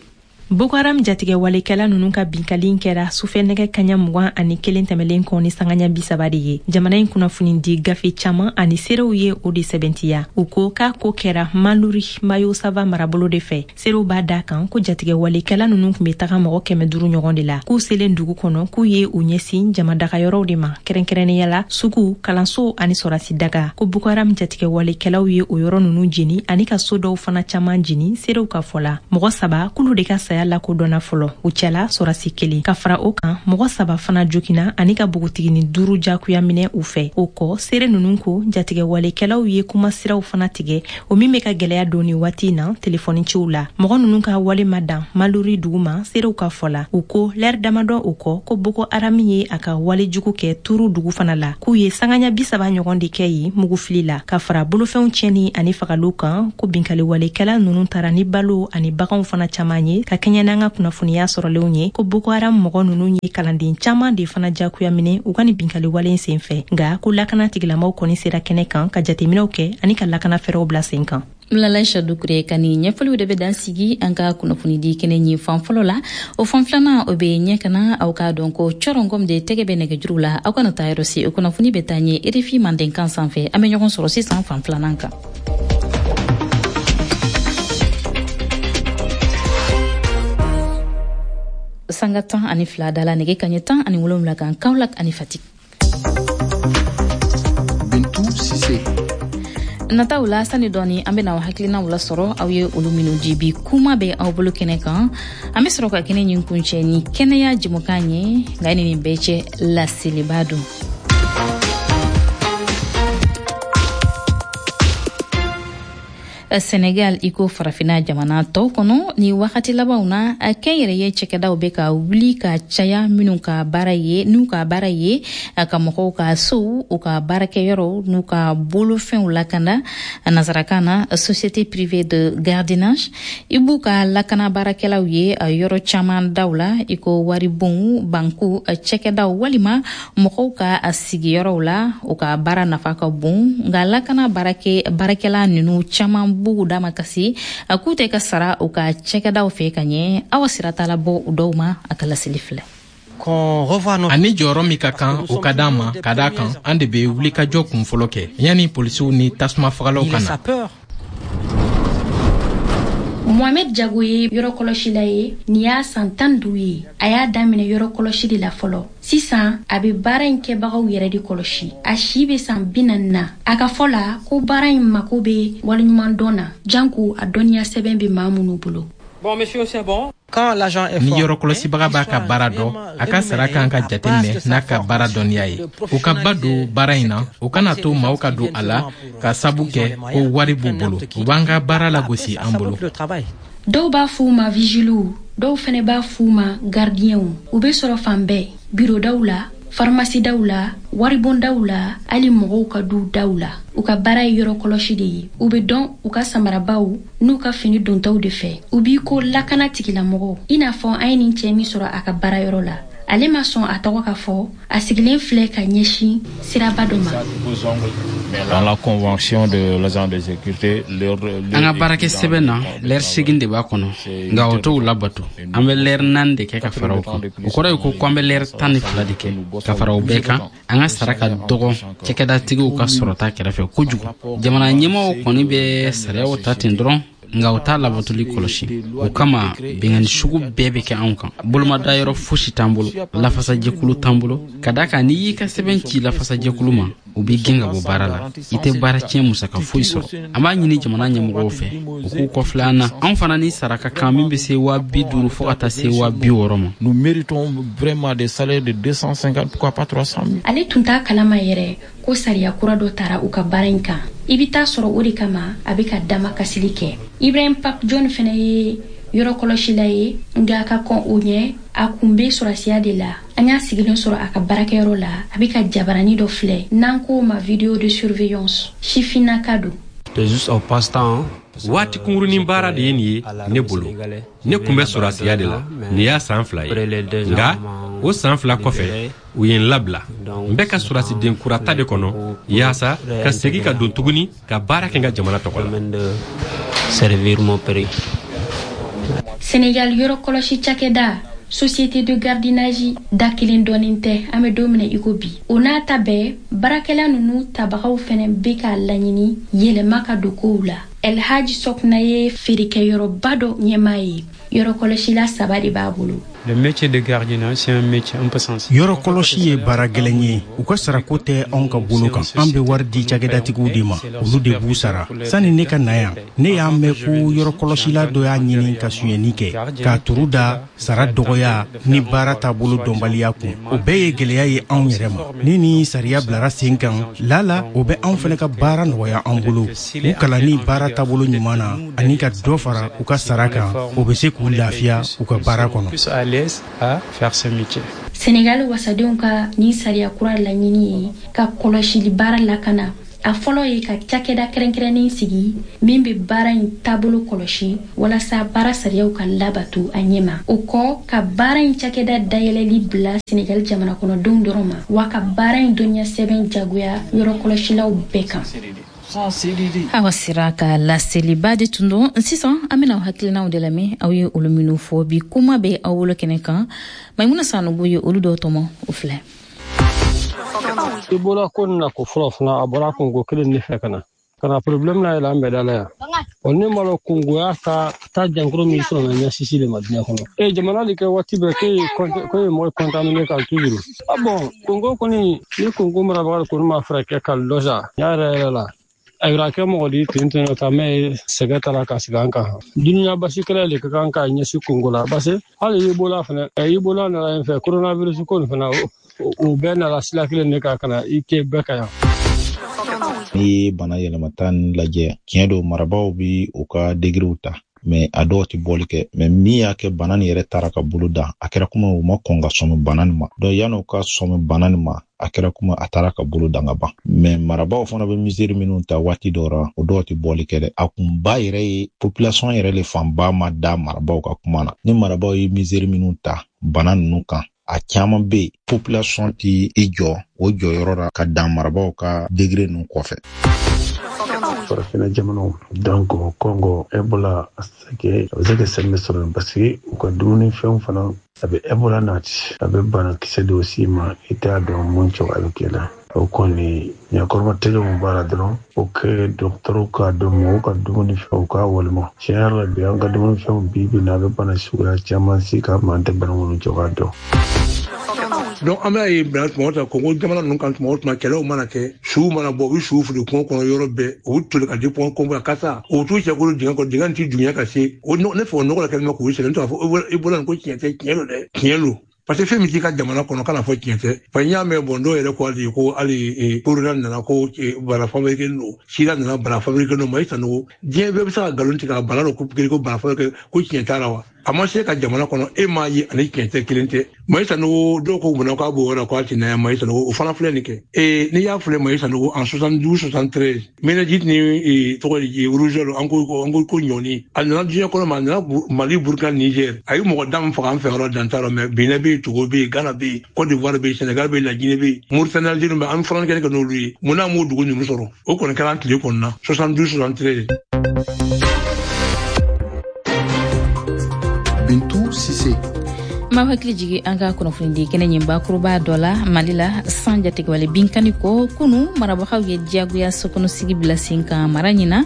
Boko Haram jatigɛwalekɛla ninnu ka binkali kɛra sufɛ nɛgɛ kaɲa mugan ani kelen tɛmɛlen kɔ ni sangaɲa bi saba de ye. Jamana in kunnafoni di gafe caman ani seerew ye o de sɛbɛntiya. U ko k'a ko kɛra Maluri Mayo Sava marabolo de fɛ. Seerew b'a da kan ko jatigɛwalekɛla ninnu tun bɛ taga mɔgɔ kɛmɛ duuru ɲɔgɔn de la. K'u selen dugu kɔnɔ, k'u ye u ɲɛsin jamadagayɔrɔw de ma, kɛrɛnkɛrɛnnenya la sugu, kalanso ani sɔrasi daga. Ko Boko Haram jatigɛwalekɛlaw ye o yɔrɔ ninnu jeni ani ka so dɔw fana caman jeni. Seerew ka fɔ la, mɔgɔ saba k'olu de ka saya lakodɔnna fɔlɔ, u cɛla sɔrasi kelen. Ka fara o kan, mɔgɔ saba fana jogina ani ka bogotigini duuru jagoya minɛ u fɛ. O kɔ, seere ninnu ko jatigɛwalekɛlaw ye kumasiraw fana tigɛ, o min bɛ ka gwɛlɛya don ni waati na telefɔni ciw la. Mɔgɔ ninnu ka wale ma dan Maluri dugu ma. Seerew ka fɔ la, u ko lɛri damadɔ o kɔ, ko Boko Haram ye a ka wale jugu kɛ Turu dugu fana la, k'u ye sangaɲa bi saba ɲɔgɔn de kɛ yen mugufili la, ka fara bolofɛnw tiɲɛni ani fagaliw kan. Ko binkaliwalekɛla ninnu taara ni balo ani baganw fana caman ye. Ka kɛɲɛ n'an ka kunnafoniya sɔrɔlenw ye, ko Boko Haram mɔgɔ ninnu ye kalanden caman de fana jagoya minɛ u ka nin binkaliwale sen fɛ. Nka ko lakana tigilamaw kɔni sera kɛnɛ kan ka jateminɛw kɛ ani ka lakana fɛɛrɛw bila sen kan. Lalaïcha Dukure ka nin ɲɛfɔliw de bɛ dan sigi an ka kunnafonidi kɛnɛ ɲin fan fɔlɔ la. O fan filanan, o bɛ ɲɛ kana aw k'a dɔn ko cɔrɔngɔm de tɛgɛ bɛ nɛgɛjuru la. Aw kana taa yɔrɔ si, o kunnafoni bɛ taa ɲɛ R F I Mandenkan sanfɛ. An bɛ ɲɔgɔn sɔrɔ sisan fan filanan kan. Sanga tan ani fila da la nɛgɛ kaɲɛ tan ani wolonwula kan Kaolack ani Fatick. Bintu Sise. Nataw la, sani dɔɔni an bɛna aw hakilinaw lasɔrɔ, aw ye olu minnu di bi kuma bɛ aw bolo kɛnɛ kan. An bɛ sɔrɔ ka kɛnɛ ɲin kuncɛ ni kɛnɛya jɛmukan ye. Nka ni nin bɛɛ cɛ, laseliba don. Senegal, i ko farafina jamana tɔw kɔnɔ, ni wagati labanw na, kɛnyɛrɛye cɛkɛdaw bɛ ka wuli ka caya, minnu ka baara ye n'u ka baara ye ka mɔgɔw ka sow, u ka baarakɛyɔrɔw n'u ka bolofɛnw lakana, nasarakan na société privée de gardiennage. I b'u ka lakana baarakɛlaw ye yɔrɔ caman daw la, i ko waribonw, banku, cɛkɛdaw walima mɔgɔw ka sigiyɔrɔw la. U ka baara nafa ka bon, nka lakana baarakɛ baarakɛla ninnu caman b'u dama kasi k'u tɛ ka sara u ka cɛkɛdaw fɛ ka ɲɛ. Awa sira t'a la bɔ u dɔw ma. A ka laseli filɛ. Ani jɔyɔrɔ min ka kan, o ka d'an ma, ka d'a kan an de bɛ wulikajɔ kun fɔlɔ kɛ yanni polisiw ni tasuma fagalaw ka na. Mohamed Jago ye yɔrɔ kɔlɔsila ye. Nin y'a san tan duuru ye. A y'a daminɛ yɔrɔ kɔlɔsi de la fɔlɔ. Sisan a bɛ baara in kɛbagaw yɛrɛ de kɔlɔsi. A si bɛ san bi naani na. A ka fɔ la ko baara in mako bɛ waleɲumandɔn na, janko a dɔnniya sɛbɛn bɛ maa minnu bolo. Bon, monsieur, c'est bon. Ni yɔrɔ kɔlɔsibaga b'a ka baara dɔn, a ka sara kan ka jateminɛ n'a ka baara dɔnniya ye. U ka ba don baara in na, u kana to maaw ka don a la ka sabu kɛ ko wari b'u bolo. U b'an ka baara lagosi an bolo. Dɔw b'a f'u ma vigiliw, dɔw fɛnɛ b'a f'u ma gardienw. U bɛ sɔrɔ fan bɛɛ, birodaw la, farimasidaw la, waribondaw la, hali mɔgɔw ka duw daw la. U ka baara ye yɔrɔ kɔlɔsi de ye. U bɛ dɔn u ka samarabaw n'u ka fini dontaw de fɛ. U b'i ko lakana tigilamɔgɔw, i n'a fɔ an ye nin cɛɛ min sɔrɔ a ka baarayɔrɔ la. Ale ma sɔn a tɔgɔ ka fɔ. A sigilen filɛ ka ɲɛsin siraba dɔ ma. Dans la convention de l'agent de sécurité, An ka baarakɛ sɛbɛn na, lɛri segin de b'a kɔnɔ, nka o t'o labato. An bɛ lɛri naani de kɛ ka fara o kan. O kɔrɔ ye ko ko an bɛ lɛri tan ni fila de kɛ ka fara o bɛɛ kan. An ka sara ka dɔgɔ cakɛdatigiw ka sɔrɔta kɛrɛfɛ kojugu. Jamana ɲɛmɔgɔw kɔni bɛ sariyaw ta ten dɔrɔn, nka u t'a labatoli kɔlɔsi. O kama bingani sugu bɛɛ bɛ kɛ anw kan. Bolomadayɔrɔ fosi t'an bolo, lafasajɛkulu t'an bolo, ka da kan n'i y'i ka sɛbɛn ci lafasajɛkulu ma, u b'i gɛn ka bɔ baara la. I tɛ baara tiɲɛ musaka foyi sɔrɔ. An b'a ɲini jamana ɲɛmɔgɔw fɛ, u k'u kɔfilɛ an na. Anw fana ni sara ka kan min bɛ se waa bi duuru fo ka taa se waa bi wɔɔrɔ ma. Nous méritons vraiment des salaires de deux cent cinquante, pourquoi pas trois cent mille. Ale tun t'a kalama yɛrɛ ko sariya kura dɔ tara u ka baara in kan. I bɛ taa sɔrɔ o de kama a bɛ ka dama kasili kɛ. Ibrahim Pap John fɛnɛ ye yɔrɔ kɔlɔsila ye, nka ka kɔn o ɲɛ, a kun bɛ sɔrɔsiya de la. An y'a sigilen sɔrɔ a ka baarakɛyɔrɔ la, a bɛ ka jabarani dɔ filɛ n'an k'o ma vidéo de surveillance. Sifinnaka don. Waati kunkurunin baara de ye nin ye ne bolo. Ne kun bɛ sɔrɔsiya de la, nin y'a san fila ye. Nka o san fila kɔfɛ, u ye n labila. N bɛ ka sɔrɔsiden kura ta de kɔnɔ yaasa ka segin ka don tuguni ka baara kɛ n ka jamana tɔgɔ la. Senegal yɔrɔ kɔlɔsi cakɛda Société de gardiennage da kelen dɔɔnin tɛ an bɛ don min na i ko bi. O n'a ta bɛɛ, baarakɛla ninnu tabagaw fɛnɛ bɛ k'a laɲini yɛlɛma ka don kow la. El Hadji Sokna ye feerekɛyɔrɔba dɔ ɲɛmaa ye. Yɔrɔ kɔlɔsila saba de b'a bolo. Le métier de gardiennage, c'est un métier un peu sensible. Yɔrɔ kɔlɔsi ye baara gɛlɛn ye. U ka sarako tɛ anw ka bolo kan. An bɛ wari di cakɛdatigiw de ma, olu de b'u sara. Sani ne ka na yan, ne y'a mɛn ko yɔrɔ kɔlɔsila dɔ y'a ɲini ka sonyɛni kɛ, k'a turu da sara dɔgɔya ni baara taabolo dɔnbaliya kun. O bɛɛ ye gɛlɛya ye anw yɛrɛ ma. Ni ni sariya bilara sen kan, lala o bɛ anw fana ka baara nɔgɔya an bolo. U kalanni baara taabolo ɲuman na ani ka dɔ fara u ka sara kan, o bɛ se k'u lafiya u ka baara kɔnɔ. À faire ce métier. Senegal wasadenw ka nin sariya kura laɲini ye ka kɔlɔsili baara lakana. A fɔlɔ ye ka cakɛda kɛrɛnkɛrɛnnen sigi min bɛ baara in taabolo kɔlɔsi walasa baara sariyaw ka labato a ɲɛma. O kɔ, ka baara in cakɛda dayɛlɛli bila Senegal jamana kɔnɔdenw dɔrɔn ma, wa ka baara in dɔnniya sɛbɛn jagoya yɔrɔ kɔlɔsilaw bɛɛ kan. Awa sera ka laseliba de tun don. Sisan an bɛna aw hakilinaw de lamɛn, aw ye olu minnu fɔ bi kuma bɛ aw bolo kɛnɛ kan. Maimuna Sanogo ye olu dɔw tɔmɔ, o filɛ. Ebola ko nin na ko fɔlɔ fana a bɔra kungo kelen de fɛ ka na ka na problème na yɛlɛ an bɛɛ da la yan. Ɔ ne m'a lɔn kungoya ka taa jankaro min sɔrɔ na ɲɛsisi de ma diɲɛ kɔnɔ. E jamana de kɛ waati bɛɛ k'e ye k'e ye mɔgɔ contaminé kan toujours. Ah bon, Congo kɔni ni Congo marabaga kɔni ma fɛɛrɛ kɛ ka lɔ sa y'a yɛrɛ yɛrɛ la. Ayiwa kɛ mɔgɔ di ten ten ta mɛ sɛgɛ taara ka sigi an kan. Dunuya basi kɛlɛ de ka kan ka ɲɛsin Congo la parce que hali Ebola fana Ebola nana yen fɛ, coronavirus ko nin fana o bɛɛ nana sira kelen de kan ka na i kɛ bɛɛ ka yan. N'i ye bana yɛlɛmata nin lajɛ, tiɲɛ don marabaaw bi u ka degerew ta, mais a dɔw tɛ bɔli kɛ. Mais min y'a kɛ bana nin yɛrɛ taara ka bolo dan, a kɛra komi u ma kɔn ka sɔmi bana nin ma. Donc yan'u ka sɔmi bana nin ma, a kɛra komi a taara ka bolo dan ka ban. Mais marabaaw fana bɛ misiri minnu ta waati dɔw la, o dɔw tɛ bɔli kɛ dɛ. A kunba yɛrɛ ye population yɛrɛ le fanba ma da marabaaw ka kuma na. Ni marabaaw ye misiri minnu ta bana ninnu kan, a caman bɛ yen population ti i jɔ o jɔyɔrɔ la ka dan marabaaw ka degré ninnu kɔfɛ. Farafinna jamanaw donc Congo Ebola a bɛ se ka sɛmɛ sɔrɔ parce que u ka dumunifɛnw fana a bɛ Ebola nati, a bɛ banakisɛ dɔw s'i ma i t'a dɔn mun cogo a bɛ kɛ la. O kɔni ɲɛkɔrɔba tɛgɛ mun b'a la dɔrɔn o kɛ dɔgɔtɔrɔw k'a dɔn mɔgɔw ka dumunifɛnw k'a walima tiɲɛ yɛrɛ la bi an ka dumunifɛnw bi bi in na a bɛ bana suguya caman si k'a ma an tɛ bana minnu cogoya dɔn. Donc an b'a ye bila tuma o tuma Congo jamana ninnu kan tuma o tuma kɛlɛw mana kɛ, suw mana bɔ, u bɛ suw fili kungo kɔnɔ yɔrɔ bɛɛ, u bɛ toli ka di kungo la kasa, u t'u cɛ kolo dingɛ kɔnɔ, dingɛ in ti dunya ka se o ne fɛ o nɔgɔ la kɛlen bɛ k'u sɛgɛn. N t'a fɔ Ebola nin ko tiɲɛ tɛ, tiɲɛ don dɛ, tiɲɛ don. Parce que fɛn min t'i ka jamana kɔnɔ kana fɔ tiɲɛ tɛ. Fa n y'a mɛn bɔn dɔw yɛrɛ ko hali ko hali corona nana ko bana fabriqué don, sida nana bana fabriqué don. Mayi Sanogo, diɲɛ bɛɛ bɛ se ka nkalon tigɛ ka bana dɔ ko ko bana fabriqué ko tiɲɛ t'a la wa? A ma se ka jamana kɔnɔ, e m'a ye ani tiɲɛ tɛ kelen tɛ. Mayi Sanogo dɔw ko munna k'a b'o yɔrɔ la k'a ti na yan. Mayi Sanogo o fana filɛ nin kɛ. Ee n'i y'a filɛ Mayi Sanogo en soixante-douze soixante-treize méningite ni tɔgɔ de rougeole an ko an ko ko ɲɔni a nana diɲɛ kɔnɔ ma, a nana Mali, Burkina, Niger, a ye mɔgɔ da min faga an fɛ yɔrɔ dan t'a rɔ. Mais Benin bɛ yen, Togo bɛ yen, Ghana bɛ yen, Côte d'Ivoire bɛ yen, Sénégal bɛ yen, La Guinée bɛ yen, Mauritanie, Algérie bɛ yen, an fana kɛlen kɛ n'olu ye. Munna an m'o dugu ninnu sɔrɔ? O kɔni kɛra an tile kɔnɔna soixante-douze soixante-treize. Bintou Cissé. Ma hakili jigi an ka kunnafonidi kɛnɛ ɲin bakuruba dɔ la Mali la, san jatigɛwale binkani ko kunu marabagaw ye diyagoya sokɔnɔsigi bila sen kan mara ɲina.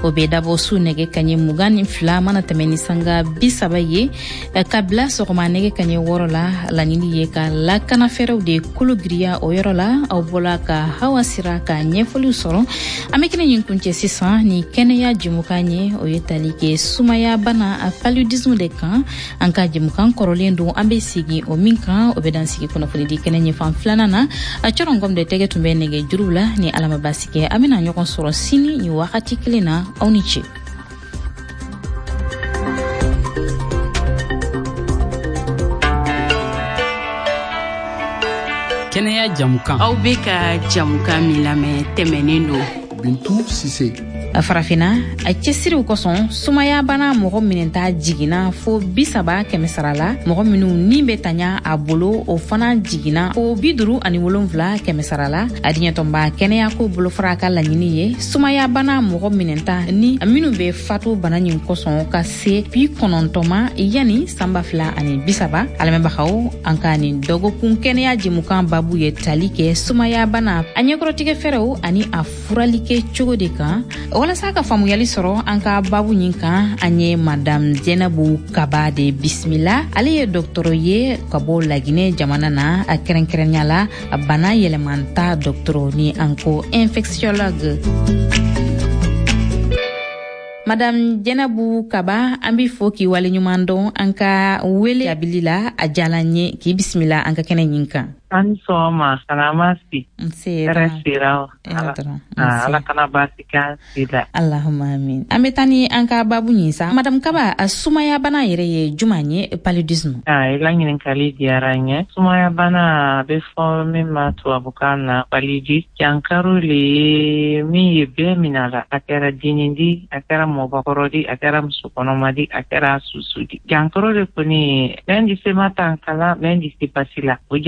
O bɛ dabɔ su nɛgɛ kaɲɛ mugan ni fila mana tɛmɛ ni sanga bi saba ye ka bila sɔgɔma nɛgɛ kaɲɛ wɔɔrɔ la. Laɲini ye ka lakana fɛɛrɛw de kolo giriya o yɔrɔ la. Aw bɔla ka Hawa Sira ka ɲɛfɔliw sɔrɔ. An bɛ kɛnɛ ɲin kuncɛ sisan ni kɛnɛya jɛmukan ye, o ye tali kɛ sumaya bana paludisme de kan. An ka jɛmukan kɔrɔlen don, an bɛ sigi o min kan, o bɛ dan sigi kunnafonidi kɛnɛ ɲɛfan filanan na. A cɔrɔngɔm de tɛgɛ tun bɛ nɛgɛ juruw la. Ni Ala ma baasi kɛ, an bɛna ɲɔgɔn sɔrɔ sini nin wagati kelen na. Aw ni ce. Kɛnɛya jamukan. Aw bɛ ka jamukan min lamɛn tɛmɛnen don. Bintu Sise. Farafina, a cɛsiriw kosɔn, sumayabana mɔgɔ minɛta jiginna fo bi saba kɛmɛ sara la. Mɔgɔ minnu ni bɛ taɲa a bolo, o fana jiginna fo bi duru ani wolonfila kɛmɛ sara la. A diɲɛtɔnba kɛnɛyako bolofara ka laɲini ye sumayabana mɔgɔ minɛta ni minnu bɛ fatu bana nin kosɔn ka se bi kɔnɔntɔn ma yanni san ba fila ani bi saba. A lamɛnbagaw, an ka nin dɔgɔkun kɛnɛya jɛmukan babu ye tali kɛ sumayabana a ɲɛkɔrɔtigɛ fɛɛrɛw ani a furali kɛ cogo de kan. Walasa ka faamuyali sɔrɔ an ka babu ɲin kan, an ye Madame Zenabu Kaba de bisimila. Ale ye dɔgɔtɔrɔ ye ka bɔ Laginɛ jamana na, a kɛrɛnkɛrɛnya la bana yɛlɛmanta dɔgɔtɔrɔ ni an ko infectiologue. Madame Zenabu Kaba, an b'i fo k'i waleɲuman dɔn an ka wele jaabili la. A diyala n ye k'i bisimila an ka kɛnɛ ɲin kan. An sɔgɔma, salama si. Nse. Hɛrɛ sira. Ala ala kana baasi k'an si la. Allahumma amin. An bɛ taa ni an ka babu ɲin sa. Madame Kaba, sumayabana yɛrɛ ye juman ye, paludisme? Ah, i la ɲininkali diyara n ye. Sumayabana a bɛ fɔ min ma tubabukan na paludisme. Jankaro le ye min ye bɛɛ minɛ a la. A kɛra dennin di, a kɛra mɔgɔkɔrɔ di, a kɛra musokɔnɔma di, a kɛra susu di. Jankaro de kɔni, mɛn di se ma tan kala, mɛn di se basi la. O